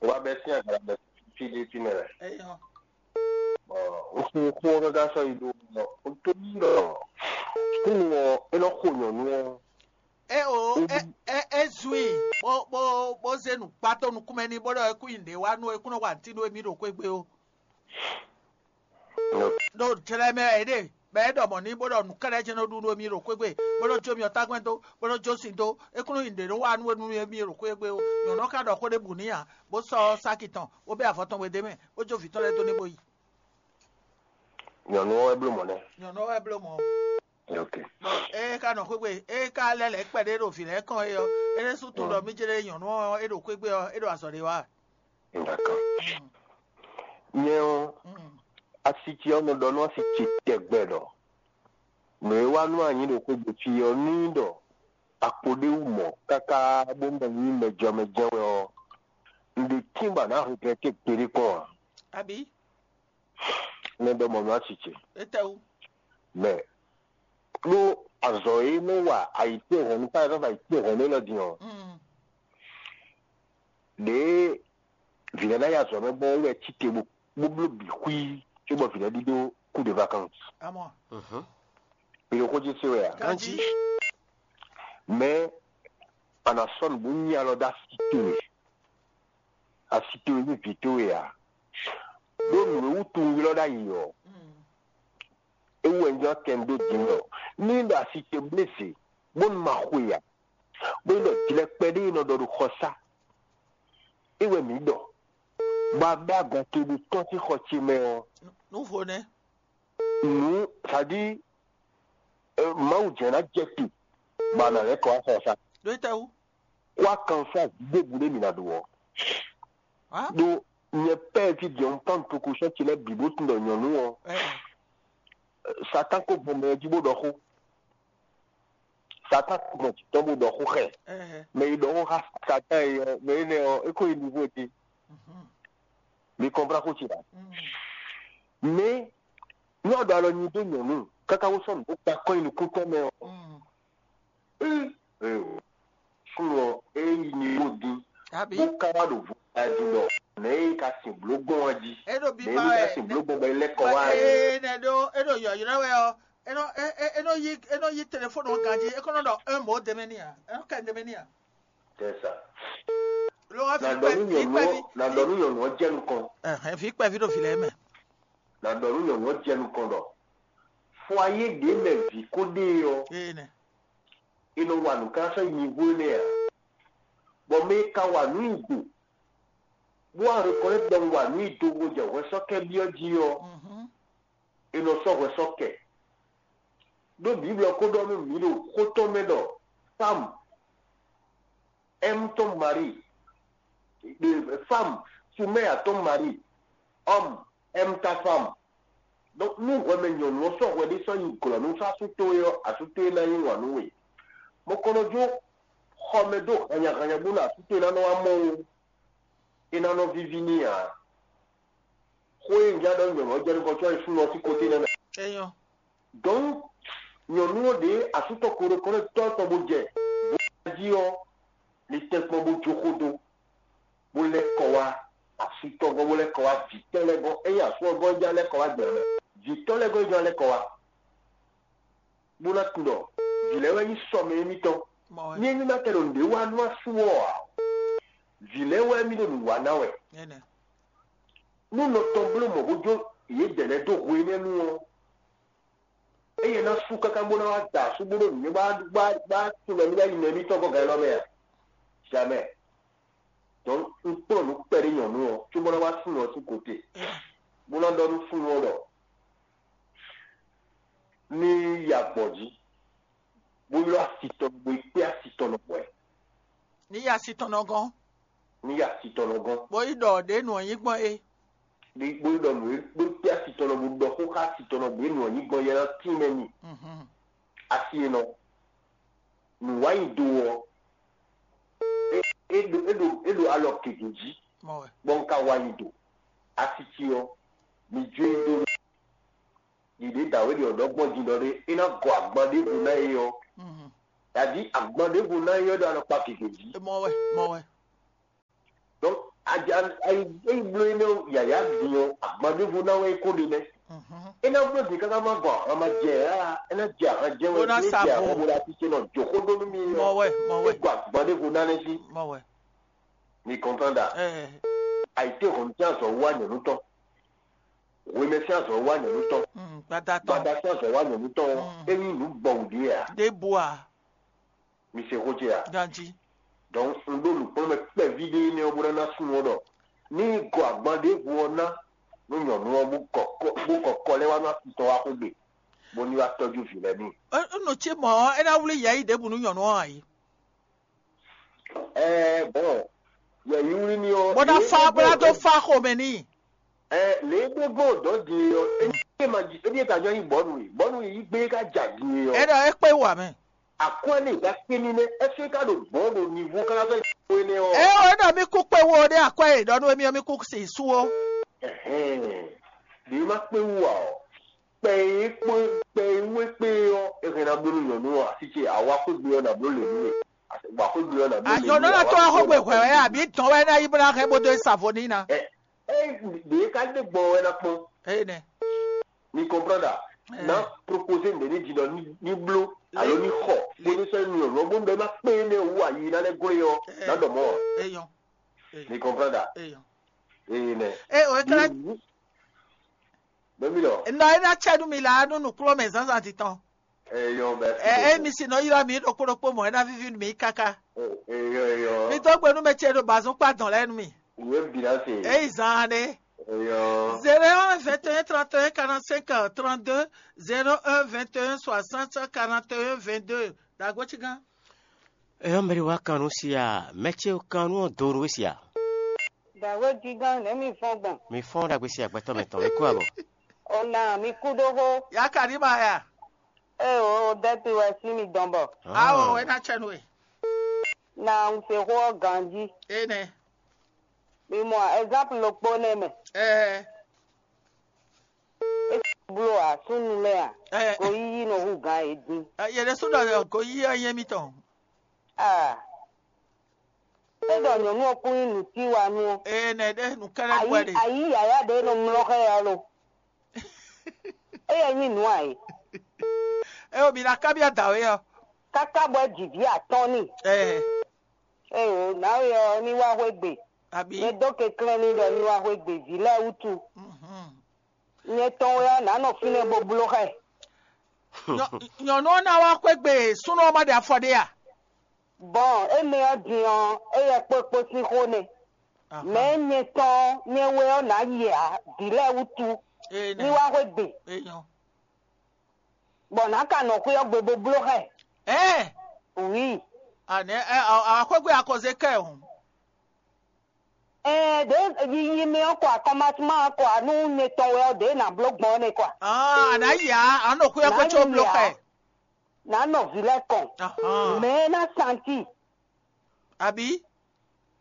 O wá bɛ́ sín agala mɛ Philippines mɛ. Eyɔ. Ɔ, un xo xó ɔ́ káká sɔ́ yi ɖó ɔ, un tó yi ɖɔ súnnu ɔ́, é nɔ xo nyɔ̌nu ɔ́. É o é é é zun i bó bó bó zé nǔkpató nukúnmɛ n'i bó ɖɔ é kún nyi nǔɖé wa nú é kún nɔ wa nǔtí nú émí ɖo xwé gbe ó. Ɖo jlɛ mɛ wɛ é ɖe, bɔ é ɖɔ mɔ̌ n'i bó ɖɔ nǔ kɛ́ɖɛ́ jɛ́n nɔ ɖu nú émí ɖo xwé gbe, bó nɔ jó myɔ tágbɛ́n dó, bó nɔ jó sin dó, é kún nɔ nyi nǔɖé nɔ wa nú émí ɖo xwé gbe ó. Nyɔ̌nu ɔ́ ka ɖɔ xó ɖěbǔ n'i ǎ, bó sɔ́ sáki tɔn, bó bɛ́ avɔ tɔn we d'é mɛ, bó jó vǐ tɔn lɛ́ɛ dó n'i bó yi. Nyɔ̌nu ɔ́ wɛ bló mɔ̌ nɛ́. Nyɔ̌nu ɔ́ wɛ bló mɔ̌. Ok. Ée ka nɔ xwé gbe, ée ka lɛ́ lɛ̌ kpɛɖé ɖo vǐ lɛ́ɛ kɔn é ɔ́, é ɖésú tunwun ɖɔ mí jlé nyɔ̌nu ɔ́ é ɖo xwé gbe ɔ́, é ɖo azɔ̌ ɖé wa. D'accord. Nyɛ ɔ́, asi ce ɔ́ nɔ ɖɔ nú asi ce tɛgbɛ ɖɔ nǔ e wa nú anyi ɖo xwé gbe fí ɔ́ ní ɖɔ akpo ɖé wú mɔ̌ káká bó mɔ nyí mɛjɔmɛ jɛ́n wɛ ɔ́, un ɖe tín bɔ a nǎ regrɛ́té gbeɖé kpɔ́n ǎ. Abǐ? Nɛ ɖɔ mɔ̌ nú asi ce. Étɛ́wú? Mɛ ɖó azɔ̌ e nɔ wa ayǐtéhɔ̌nnu, par exemple ayǐtéhɔ̌nnu élɔ́ din ɔ́, ɖěe vǐ lɛ́ɛ ná yi azɔ̌ mɛ gbɔn é wɛ cí te bó bó bló bǐ xwí cóbɔ vǐ lɛ́ɛ ɖíɖó kú de vacances. Amɔ. Mi ɖo xó jí se wɛ a? Ganjí. Mɛ a nǎ sɔ́ nǔ bó nyi alɔ dó asi towe, asi towe ní vǐ towe ǎ. Ɖó nǔ e wútu un ylɔ́ ɖ'ayǐ ɔ́, é wú wɛ un jlɔ́ kɛ un dó din ɖɔ ní un ɖo asi ce blé zě bónú ma xwe ǎ, bónú ɖɔ jlɛkpɛ ɖé e nɔ ɖɔ ɖo xɔsá é wɛ mǐ ɖɔ, bɔ a bɛ́ agɔn toɖo tɔ́n sín xɔ ce mɛ ɔ́, Nǔ vo nɛ́. Nǔ saɖí Mawu jɛ́n ná jɛ te bɔ a nǎ lɛ́ kɔ wá xɔsá. Ɖó é tɛ́ wú? Kó akanfá ɖěbǔ ɖé mǐ ná ɖó ɔ́. Á? Ɖó nyɛ pɛ́ fí din ɔ́, un kpán nukúnkunsɛ́n ce lɛ́ɛ bǐ bó tunwun ɖɔ nyɔ̌nu ɔ́, Ɛ, Satán ko gbɔn mɛ ɔ́ jí bó ɖɔ xó. Satán ko gbɔn jǐ tɔn bó ɖɔ xó xɛ. Ɛ, Mɛ e ɖɔ xó xá Satán é ɔ́, mɛ énɛ́ ɔ́, é ko yi nivo din. Mi kɔnplá xó ce ɖa. Mɛ nú a ɖo alɔ nyi dó nyɔ̌nu káká wó sɔ́ nǔ bó kpa kɔ́ nyi nukúntɔ́ mɛ ɔ́, Ee, ee, o. Súnnu ɔ́, é yi nivo dín, Abi? Bó ka wá ɖo vo ɛ jí ɖɔ nɛ̌ é ka sin bló gbɔn ɛ jí. É ɖo Nɛ̌ biba é wɛ. Ka sin bló gbɔn bɔ é lɛ́ kɔ wá ɛ. Ee, nɛ ɖó é ɖo yɔ̌yrɔ́ wɛ ɔ́. É nɔ é é é nɔ yí é nɔ yí telefóni ɔ́ ganjí. É kɔn nɔ ɖɔ un mot de mɛ n'i ǎ. É nɔ kɛ de mɛ n'i ǎ. C'est ça. Lo wá Na fi ɖɔ kpɛ nú fi nyɔ̌nu kpɛ ɔ́, fi. Na ɖɔ nú nyɔ̌nu ɔ́ jɛ nukɔn. Ɛhɛn, fi kpɛ fi ɖo fi lɛ́ɛ mɛ. Na ɖɔ nú nyɔ̌nu ɔ́ jɛ nukɔn ɖɔ foayé ɖě mɛ vǐ ko ɖe ɔ́, Ee nɛ. È nɔ wa nǔ ká sɔ́ yi nyǐgbo énɛ́ ǎ. Bɔ mɛ e ka wa nǔ nyi do, bó wá reconnaître ɖɔ un wa nǔ nyi do bó jɛ hwɛsɔ́kɛ́ byɔ́ jí ɔ́, è nɔ sɔ́ hwɛsɔ́ kɛ. Ɖó Bǐblu ɔ́ ko ɖɔ nú mǐ ɖo xó tɔn mɛ ɖɔ fámu aime ton mari, fámu soumet à ton mari, homme aime ta femme. Donc nú hwɛmɛ nyɔ̌nu ɔ́ sɔ́ hwɛ ɖé sɔ́ nyi glɔ̌ nú sɔ́ asú towe ɔ́, asú towe ná yí wǎn nú we. Mɔkɔnɔjó xɔ mɛ dó hannyahannya bónú asú towe ná nɔ wá mɔ ó, é ná nɔ víví n'i ǎ. Xó e un jlá ɖɔ nyɔ̌nu ɔ́ jɛ nukɔn có wá nyí súnnu ɔ́ sín kóté nɛ́ mɛ. Enyɔ. Donc nyɔ̌nu ɔ́ ɖě asú tɔn ko ɖo kɔ́ ɖo tɔ́ tɔn bó jɛ bó jí ɔ́, ní tɛ́nkpɔ́n bó jó xó dó. tɔn gɔ́n bó lɛ́ kɔ wá, vǐ tɔn lɛ́ɛ gɔ́n, ényí asú ɔ́ gɔ́n é ján lɛ́ kɔ wá gbɛ ɔ́, vǐ tɔn lɛ́ɛ gɔ́n é ján lɛ́ kɔ wá, bó ná tunwun ɖɔ vǐ lɛ́ɛ wɛ nyí sɔmɛ émítɔn. Ní émí ma ka ɖo nǔɖé wa nú asú ɔ́ ǎ, vǐ lɛ́ɛ wɛ mì ɖo nǔ wa ná wɛ. Nú nɔ tɔn bló mɔ̌ bó jó yědɛɛ lɛ́ɛ dó hwe énɛ́ nu ɔ́, eye ná sú káká bó ná wá da asú bó ɖo nǔ bá bá bá tunwun mì ná yi mɛ émítɔn gɔ́ gan élɔ́ mɛ a? Jamɛ. Donc un kplɔ́n nǔ kpɛɖé nyɔ̌nu ɔ́, cóbó ná wá súnnu ɔ́ sín kote, bó ná ɖɔ nú súnnu ɔ́ ɖɔ ní yi agbɔ̌n jí, bó ylɔ́ asi tɔn bó yi kpé asi tɔn nɔ hwɛ̌. Ní yi asi tɔn nɔ gɔ́n, ní yi asi tɔn nɔ gɔ́n, bó yi ɖɔ ɖě nǔ ɔ́ nyí gbɔn é. Bó yi ɖɔ nǔ e bó kpé asi tɔn nɔ bó ɖɔ xó xá asi tɔn nɔ bó e nǔ ɔ́ nyí gbɔn yɛ ná tín mɛ n'i. Mhm. Asi e nɔ nǔwanyido ɔ́, é é ɖo é ɖo é ɖo alɔ gěgé jí, Mɔ wɛ. Bɔ un ka wa nyi do. Asi ce ɔ́, mi jó e dó ɖiɖe dǎwe ɖi ɔ̌ ɖɔ gbɔn din ɖɔ ɖé é ná gɔ agban ɖěvo ná é ɔ́, Mhm. Dadi agban ɖěvo ná é ɔ́ ɖo alɔkpa gěgé jí. Mɔ wɛ, mɔ wɛ. Donc aja ayi é bló énɛ́ yǎyá din ɔ́, agban ɖěvo ná wɛ é kó ɖe nɛ́. Mhm. É ná bló din káká má gɔ ahan ma jɛ ǎ, é ná jɛ ahan jɛ wɛ Bó ná é sa jɛ vo. Ahan bó ɖo así ce nɔ jǒ xó ɖó nú mì Mɔ ɔ́, wɛ, mɔ é wɛ. Gɔ agban ɖěvo ná nɛ́ jí. Mɔ wɛ. Mi comprendre à? Ɛ, Ayité hɔn sín azɔ̌ wá nyɔ̌nu tɔn. Hwemɛ sín azɔ̌ wá nyɔ̌nu tɔn. Mm, gbada tɔn. Gbada sín azɔ̌ wá nyɔ̌nu tɔn. Mm. É nyí nǔ gbɔwǔ ɖíe à? Ɖěbǔ à? Mi se xó ce à? Ganjí. Donc un ɖó nǔkplɔ́nmɛ kpɛví ɖé énɛ́ ɔ́ bó ná ná súnnu ɔ́ ɖɔ ní yi gɔ agban ɖěvo ɔ́ ná nú nyɔ̌nu ɔ́ bó kɔ kɔ bó kɔ kɔ lɛ́ wá nú asitɔ́ wá xwégbe, bó ní wá tɔ́jú vǐ lɛ́ɛ n'i. Nɔ ce mɔ̌ ɔ́, é ná wlí yɛ̌yi ɖěbǔ nú nyɔ̌nu ɔ́ ǎ é. Ɛɛ bɔn yɛ̌yi wlí ní ɔ́. Bó ná fa bó ná dó fa xomɛ n'i. Ɛ lě e gbé gbɔn dɔ̌ din e ɔ́, é ní é ma jí é ní é ka jɔ nyí bɔ̌nu e bɔ̌nu e yí gbé é ka ja din e ɔ́. É ɖɔ é kpé wú ǎ mɛ. Akwɛ́ lě e ka kpé ní nɛ́ ɛ́ fí é ka ɖo gbɔ̌n ɖo nivo káká sɔ́ yi xó énɛ́ ɔ́. É ɔ́ é ɖɔ mì kú kpé wú ɔ́ ɖé akwɛ́ e ɖɔ nú émí ɔ́ mì kú si su ó. Ɛhɛn, ɖě e ma kpé wú ǎ ɔ́, kpɛ e kpó kpɛ e wú é kpé ɔ́, é hɛn ná bló nú nyɔ̌nu ɔ́, así ce awa xwé gbe ɔ́ ná bló lě nú we. Wa xwé gbe ɔ́ ná bló lě nú we. Ayɔ̌nɔ ná tó wá xwé gbe hwɛ̌ wɛ abǐ dɔn wɛ ná yí bó ná hɛn bó dó yi sa vo n'i ná. Ɛ ɛ ɖě ká ɖe gbɔn wɛ ná kpɔn. Eye nɛ. Mi comprendre à? Ɛ. Ná proposer mɛ ní dzi ɖɔ ní ní bló alo ní xɔ bó ní sɔ́ ní nyɔ̌nu ɔ́ bó ní ɖɔ é má kpé énɛ́ wú ayi ná lɛ́ glé ɔ́ ná ɖɔ mɔ̌ ǎ. Eyɔn. Mi comprendre à? Eyɔn. Eye nɛ. E o ekele. Bɛ́mí ɖɔ. Nɔ e ná cɛ nú mi la nú nǔkplɔ́nmɛ zǎnzǎn titɔn. Eyɔn bɛ. Ɛ emi si nɔ ylɔ́ mi ɖokpó ɖokpó mɔ̌ é ná víví nú mi káká. Eyɔn eyɔn. Mi dó gbe nú mɛ ce ɖo bazɔn kpá dɔn lɛ́ɛ nú mi. Ìwé bǐ ná se. Eyi zaan ɖe. Eyɔn. Zéro un vingt et un trente et un quarante-cinq trente-deux, zéro un vingt et un soixante quarante et un vingt-deux. Dagbo ci gán. Eyɔn mɛ ɖé wá kan nú si a, mɛ ce kan nú ɔ́ do nú we si a. Dǎwe gígán nɛ̌ mi fɔ́n gbɔn? Mi fɔ́n ɖagbe si agbɛtɔ́ mɛ tɔn, mi kú abɔ. Ona mi kú ɖó xó. Ya ka ɖi ma ya. Ée o dɛ́ti wɛ sín mi dɔn bɔ. Awo wɛ ná cɛ nú we. Na un se xó ɔ́ ganjí. Enɛ. Mi mɔ ɛzanpu ɖokpó nɛ́ mɛ. Ɛɛ. É bló ǎ súnnu lɛ́ɛ a? Ɛɛ. Goyíyí nɔ hú gǎn yě dín. Yě ɖésú ɖɔ goyíyí ɔ́ nyí émítɔn. Aa. É ɖɔ nyɔ̌nu ɔ́ kún nyí nǔtíwanú ɔ́. Ee nɛ ɖé nǔkɛ́nɛ́ nú wɛ ɖe. Ayǐ yǎyá ɖě nɔ mlɔ́ xá ɛ ɔ́ lo. Éyɛ́ nyí nǔ ǎ é. É o mi ná kábyɔ́ dǎwe ɔ́. Káká bɔ é ji vǐ atɔ́ɔ́n n'i. Ɛɛ. Éyo, nǎwe ɔ́ ní wá xwé gbe. Abǐ. Nyɛ dó kɛnklɛ́n n'i ɖɔ ní wá xwé gbe vǐ lɛ́ɛ wútu. Mhm. Nyɛ tɔn wɛ ɔ́, nǎ nɔ fínɛ́ bó bló xá ɛ. Nyɔ- nyɔ̌nu ɔ́ ná wá xwé gbe súnnu ɔ́ má ɖe afɔ ɖé a? Bɔn énɛ́ ɔ́ din ɔ́, éyɛ́ kpókpó sín xó nɛ́. Mɛ̌ nyɛ tɔn nyɛ wɛ ɔ́ nǎ yi ǎ, vǐ lɛ́ɛ wútu, ní wá xwé gbe. Bɔ nǎ ka nɔ xwé ɔ́ gbe bó bló xá ɛ. Ɛɛ. Wǐ. Anɛ ɛ awǎ xwé gbe akɔzé kɛ hǔn. Ɛɛ ɖě yiyi mɛ ɔ́ kɔ akɔmasúma ɔ́ kɔ nú nyɛ tɔn wɛ ɔ́ ɖě nǎ bló gbɔn ɔ́ nɛ́ kɔ. Aa a nǎ yi ǎ, a nɔ xwé ɔ́ kó có bló xá ɛ. Nǎ nɔ vǐ lɛ́ɛ kɔn. Mɛ̌ ná santi. Abǐ.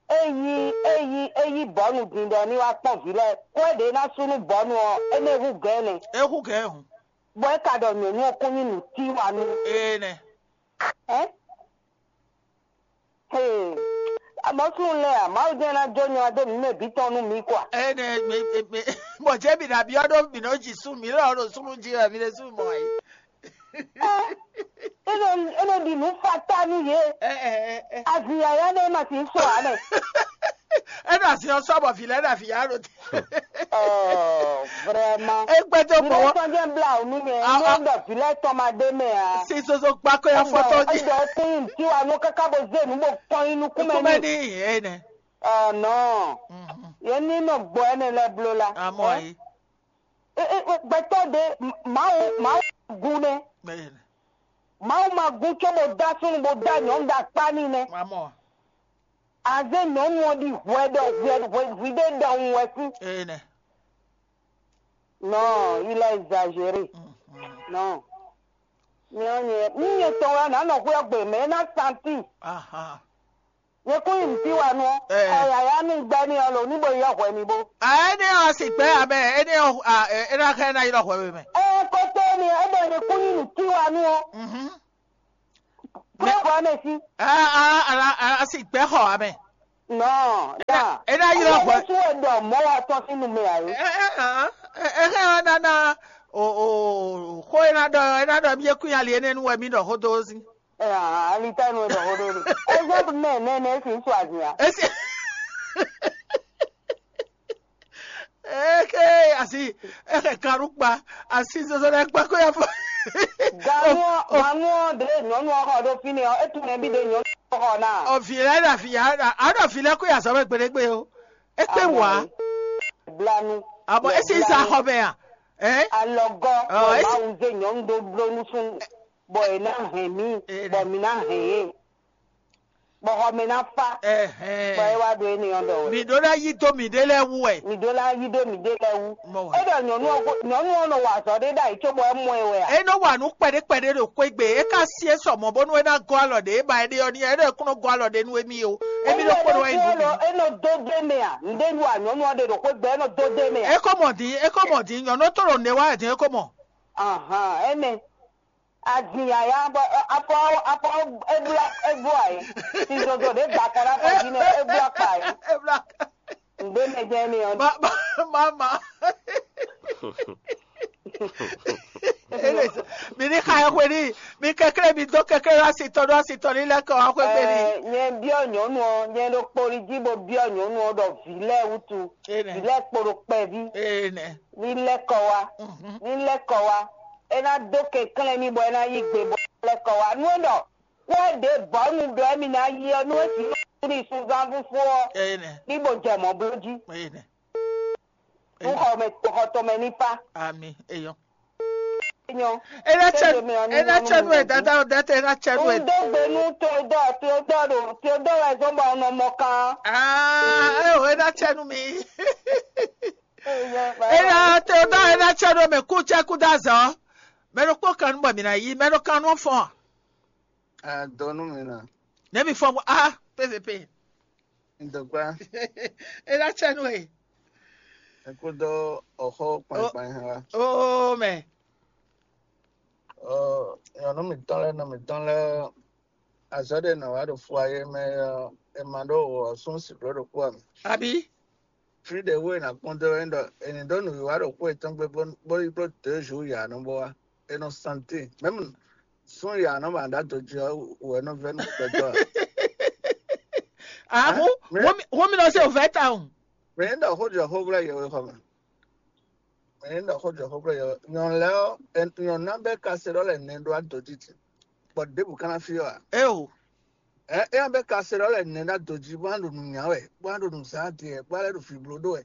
Eyi eyi eyi bɔ̌nu din ɖɔ ní wá kpɔ́n vǐ lɛ́ɛ, kó é ɖě ná sú nú bɔ̌nu ɔ́, énɛ́ hú gɛ̌n nɛ́. É hú gɛ̌n hǔn. Bɔ é ka ɖɔ nyɔ̌nu ɔ́ kún nyí nǔtíwanú. Ee nɛ. Ɛ̌? Hee. Amɔ̌ súnnu lɛ́ɛ a, Mawu jɛ́n ná jó nyɔ̌ dó nǔ mɛ bǐ tɔn nú mi kwa. Ene me me bɔ jɛ mi ɖa biɔ ɖo mi nɔ dzi sun mi lɔ ɖo sun jí wɛ mi ɖe sun mɔ yi. Ene ene ɖi nǔ fata nú yě. Azin yaya ɖe ma ti sɔ ane. Ena si ɔsɔ bɔ fi lɛ na fi ya ɖo te. Oh, vraiment. Egbe tó Mi bɛ bɔ sɔn jẹ́ bla ònú yẹn. Ah, Ní ah. Ọ̀dọ̀ fílẹ̀ tọ́ ma dé mẹ́ a. Si soso kpa ko ya fɔtɔ ji. Ẹ̀dọ̀ tí n tí wa nú káká bó zé nú bó kpɔn inú kú mẹ́ Kuma ní. ni ene. Ọ̀ nɔ. Yẹn ní nɔ gbọ́ ẹni lɛ blo la. Amɔ yi. Gbẹtọ́ de Mawu Mawu gu nɛ. Ene. Mawu ma gu có bó dá súnnu bó dá nyɔ̌nu dá kpá ní nɛ. Amɔ. Azé nyɔ̌nu ɔ́ ɖi hwɛ ɖɔ hwɛ hwɛ hwɛ ɖé ɖɔhun wɛ sí. Ene. Non, il a exagéré. Non. Nyɛ ɔ́ nyɛ ní nyɛ tɔn wɛ nǎ nɔ xwé ɔ́ gbe mɛ é ná santi. Aha. Nyɛ kún nyi nǔtiwanu ɔ́. Eh. Kɔ yǎyá nú gbɛ́ ní ɔ́ lo ní bo yɔ hwɛ mi bó. A ene ɔ si gbɛ amɛ ene ɔ a ena xɛ na yi lɔ hwɛ we mɛ. Ɛ kótó ni é ɖɔ nyɛ kún nyi nǔtiwanu ɔ́. Mhm. Kúrò hwɛ mɛ sí. A a a a si gbɛ xɔ amɛ. Non, non. E ná ylɔ́ hwɛ. Ɛlɛsu wɛ ɖɔ mɔ̌ wa tɔn sín nu mɛ ǎ é. Ɛ ɛ ɛ ɛ ɛ ɛ nana o o xó e ná ɖɔ e ná ɖɔ mi yé kún ali énɛ́ nu wɛ mi ɖɔ xó dó sí. Alitanu ɖɔ xó ɖó ɖe. Exemple mɛ nɛnɛ si ŋutsu azin a. Esi eke asi eke kaɖu kpa asi zozo ɖe kpa ko ya fɔ. Ganuɔ ganuɔ ɖe nyɔnu ɔxɔ ɖo fínɛ ɔ etu nɛ bi ɖe nyɔnu ɔxɔ na. Ɔvi lɛ ɖe afi ya aɖo avi lɛ ko ya zɔ bɛ gbeɖegbe o. Ekpe wa. Blanu. Abɔ esi sa xɔ mɛ a. Ɛ. Alɔgɔ Ɔ, esi- Mawu zé nyɔnu ɖó bló nú súnnu bɔ è ná hɛn mí Ee, bɔ mí ná hɛn yé bɔ xɔ mɛ ná fá bɔ é Ɛhɛn. wá ɖo énɛ́ ɔ́ ɖɔ wɛ. Mi ɖó ná yí dó mi ɖé lɛ́ɛ wú wɛ. Mi ɖó ná yí ɖó mi ɖé lɛ́ɛ wú. Mɔ wɛ. É ɖɔ nyɔnu ɔ́ gó- nyɔnu ɔ́ nɔ wa azɔ̌ ɖé ɖ'ayǐ cóbɔ é mɔ ɛ wɛ a? E nɔ wa nǔ kpɛɖé kpɛɖé ɖo xwé gbe. E ka si e sɔ mɔ bónú e ná gɔ́ alɔ ɖě e ba e ɖe ɔ́ n'i. E ɖɔ e kún nɔ gɔ́ alɔ ɖě nú émí o. Émí ɖokpó ɖo wá yi nú mi. É nɔ dó dé mɛ a? Ǹdé nu a nyɔnu ɔ́ ɖe ɖo xwé gbe é nɔ dó dé mɛ a? E ko mɔ din, e ko mɔ din, nyɔnu to ɖo ne wá din, e ko mɔ. Ahan, ɛnɛ. Azin yaya bɔ afɔ afɔ ebla ebo ayi. Sizozo ɖe gba kɔ ɖe afɔ dzi nɛ ebla kpa yi. Ebla. Ŋgbé mɛ jɛ mi ɔ. Ma ma ma ma. Ele mi ni xa ɛ xwe ni, mi kɛkɛ mi dó kɛkɛ lɔ asi tɔ ɖo asi tɔ ni lɛ kɔ wá xwe gbe ni. Ɛ, nyɛ biɔ nyɔnu ɔ, nyɛ ɖo kpoli jí bo biɔ nyɔnu ɔ ɖɔ vi lɛ wutu, Ene. Vi lɛ kpo ɖo kpɛvi, Ene. Ni lɛ kɔ wá, ni lɛ kɔ wá. É ná dó kɛnklɛ́n mì bɔ é ná yí gbe bɔ é lɛ kɔ wá. Nú é ɖɔ xó e ɖě bɔ̌nu ɖɔ émí ná yí ɔ́, nú é sixú ní sunzán fúfú ɔ́, Ene. Ní bo jɛ mɔ̌ bló jí. Ene. Nú xɔ mɛ xɔ tɔn mɛ ní fá. Ami eyɔ. Nyɔ. Ena Kéde tsɛnu mɛ ɔ́ ní ena nyɔ́ nú tsɛnu mɛ e dada dɛtɛ ena tsɛnu Un e. dó gbe nú Teodoro, Teodoro ɖo Teodoro wɛ zɔ́n bɔ un nɔ mɔ kan. Aa eo ena tsɛnu mi. Ena Teodoro ena tsɛnu e mɛ kú tsɛ kú dó azɔ. Mɛ ɖokpó kan nú bɔ mi ná yí mɛ ɖo kan nú fɔn. Adɔnu mi na. Ne mi fɔn bɔ ah pvp. Ntɔkpa, Ena tsɛnu e. Ekudo ọxɔ kpankpan ha wa. Oo mɛ. Ɔ, nyɔnu mitɔn lɛ, nɔ mitɔn lɛ, azɔ ɖe nɔ wa ɖo fua ye mɛ ɔ, ema ɖo wɔ sún si ɖo ɖo kpɔ mi. Abi. Fi ɖe wo ena kpɔn do ɛn ɖɔ eni ɖo nǔ wa ɖo kpɔ etɔn gbe bó bó yi kpó deux jours ya nɔ bɔ wa. Enɔ santé. Même sun ya nɔ ba ɖa do jɔ wɛ nɔ vɛ nɔ kpɛtɔ. Ah, Hein? wo Mais- wo mi wo mi nɔ se o vɛ ta o. Mais ɖɔ xó jɔ xó vla yɛ wɛ xɔ mɛ. Mais ɖɔ xó jɔ xó vla yɛ wɛ. Nyɔnu lɛ ɔ, nyɔnu na bɛ ka se ɖɔ lɛ nɛ ɖo adɔ titi. Bɔ ɖebu kana fi wa. E o. Ɛ ɛ bɛ ka se ɖɔ lɛ nɛ ɖo adɔ ji bɔ an ɖo nu nya wɛ, bɔ an ɖo nu zan adiɛ, bɔ alɛ ɖo fi blo ɖo wɛ.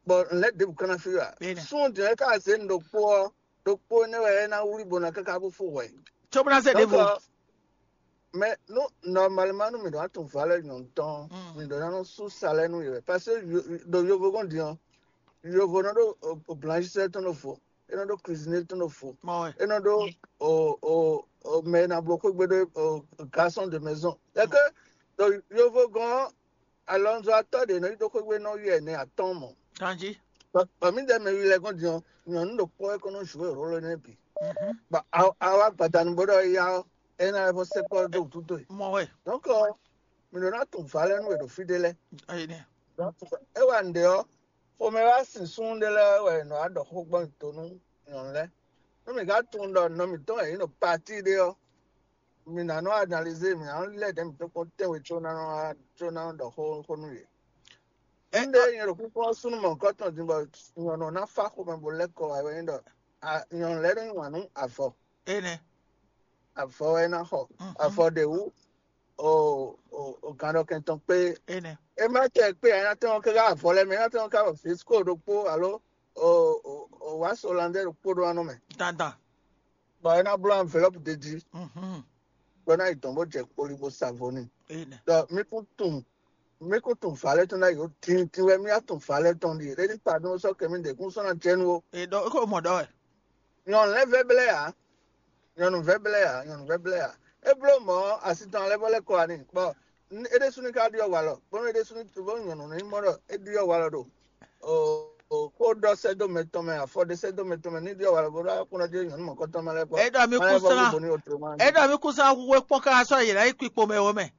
Bɔ lɛ ɖebu kana fi wa. Bene. Sun diɛ ka se ɖokpo ɔ, ɖokpo ne wɛ ɛ na wuli bo na kaka bo fo wɛ. Tso bena se Donc, ɖevo. euh, mais nous, normalement, nous, nous devons trouver le longtemps, Mm. nous devons sous salaire, nous, parce que yo- dans le Yovo, on dit, hein, le Yovo, non, au blanchisseur, ton faux, et non, au cuisinier, ton faux, Mɔ wɛ. et non, au, au, au, mais dans beaucoup de au garçon de maison. C'est que dans le Yovo, Alonso a tɔ de no yi do xwegbe nɔ yɔ ne atɔn mɔ. Kanji. Pami de me wi lɛ gɔn diɔ nyɔnu ɖo kpɔ e kɔnɔ jouer rôle ne bi. Mhm. Ba awa gbadanu bo ɖɔ ya ɔ ena lɛ fɔ se kpɔ do tuto yi. Mɔ wɛ. Donc ɔ Mi ɖo ná tunwun vǎ lɛ́ɛ nú è ɖo fí ɖé lɛ́ɛ. É wa nǔɖé ɔ́, xomɛ wá sin súnnu ɖé lɛ́ɛ wɛ è nɔ wá ɖɔ xó gbɔn nyi to nú nyɔ̌nu lɛ́ɛ. Nú mǐ ka tunwun ɖɔ nɔ mǐtɔn wɛ yě ɖo pati ɖé ɔ́, mǐ ná nɔ analyser, mǐ ná nɔ lɛ́ ɖɛ̌ mǐtɔn kpɔ́n tɛ́nwe có ná nɔ wá có ná nɔ ɖɔ xó xó nú yě. Ńɖé nyɛ ɖo kúkú ɔ́ súnnu mɔ̌hunkɔtɔn din bɔ nyɔ̌nu ná fá xomɛ bó lɛ́ kɔ wá wɛ nyí ɖɔ nyɔ̌nu lɛ́ɛ nɔ yí wǎn nú avɔ. Avɔ wɛ é ná xɔ. Avɔ ɖě wú o gǎnɖɔkɛn tɔn kpé. É má tɛ kpé ǎ, é ná tɛ́n ɔ́ káká avɔ lɛ́ɛ mɛ, é ná tɛ́n ɔ́ ká ɖo fisco ɖokpó alo wǎ solandɛ ɖokpó ɖó anɔ mɛ. Dandan. Bɔ é ná bló enveloppe ɖé jí. Bɔ é ná yi dɔn bó jɛ kpoli bó sa vo n'i. Ɖɔ mí kún tunwun mí kún tunwun vǎ lɛ́ɛ tɔn ná yi ó tintin wɛ mí á tunwun vǎ lɛ́ɛ tɔn ɖíe ɖé ní pardon sɔ́ kɛ mí ɖě kún sɔ́ ná jɛ nú ó. È ɖɔ é ko mɔ ɖɔ wɛ. Nyɔ̌nu lɛ́ɛ vɛ́ blɛ́ ǎ. Nyɔ̌nu vɛ́ blɛ́ ǎ. Nyɔ̌nu vɛ́ blɛ́ ǎ. É bló mɔ̌ asi tɔn lɛ́ɛ vɔ lɛ́ kɔ wá n'i. Bɔ é ɖésú ní ká ɖyɔ́ walɔ bónú é ɖésú ní bónú nyɔ̌nu ní mɔ ɖɔ é ɖyɔ́ walɔ ɖo xó ɖɔ sɛ́ dó mɛ tɔn mɛ, afɔ ɖé sɛ́ dó mɛ tɔn mɛ ní ɖyɔ́ walɔ bónú akúnɔ jí nyɔ̌nu mɔ̌kɔtɔn mɛ lɛ́ɛ kpɔ. É ɖɔ mí kún sán é ɖɔ mí kún sán hu é kpɔ́n káká sɔ́ yě ná yi kpikpo mɛ ó mɛ.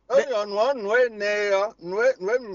Ó nyɔ̌nu ɔ́ nǔ énɛ́ ɔ́ nǔ e nǔ e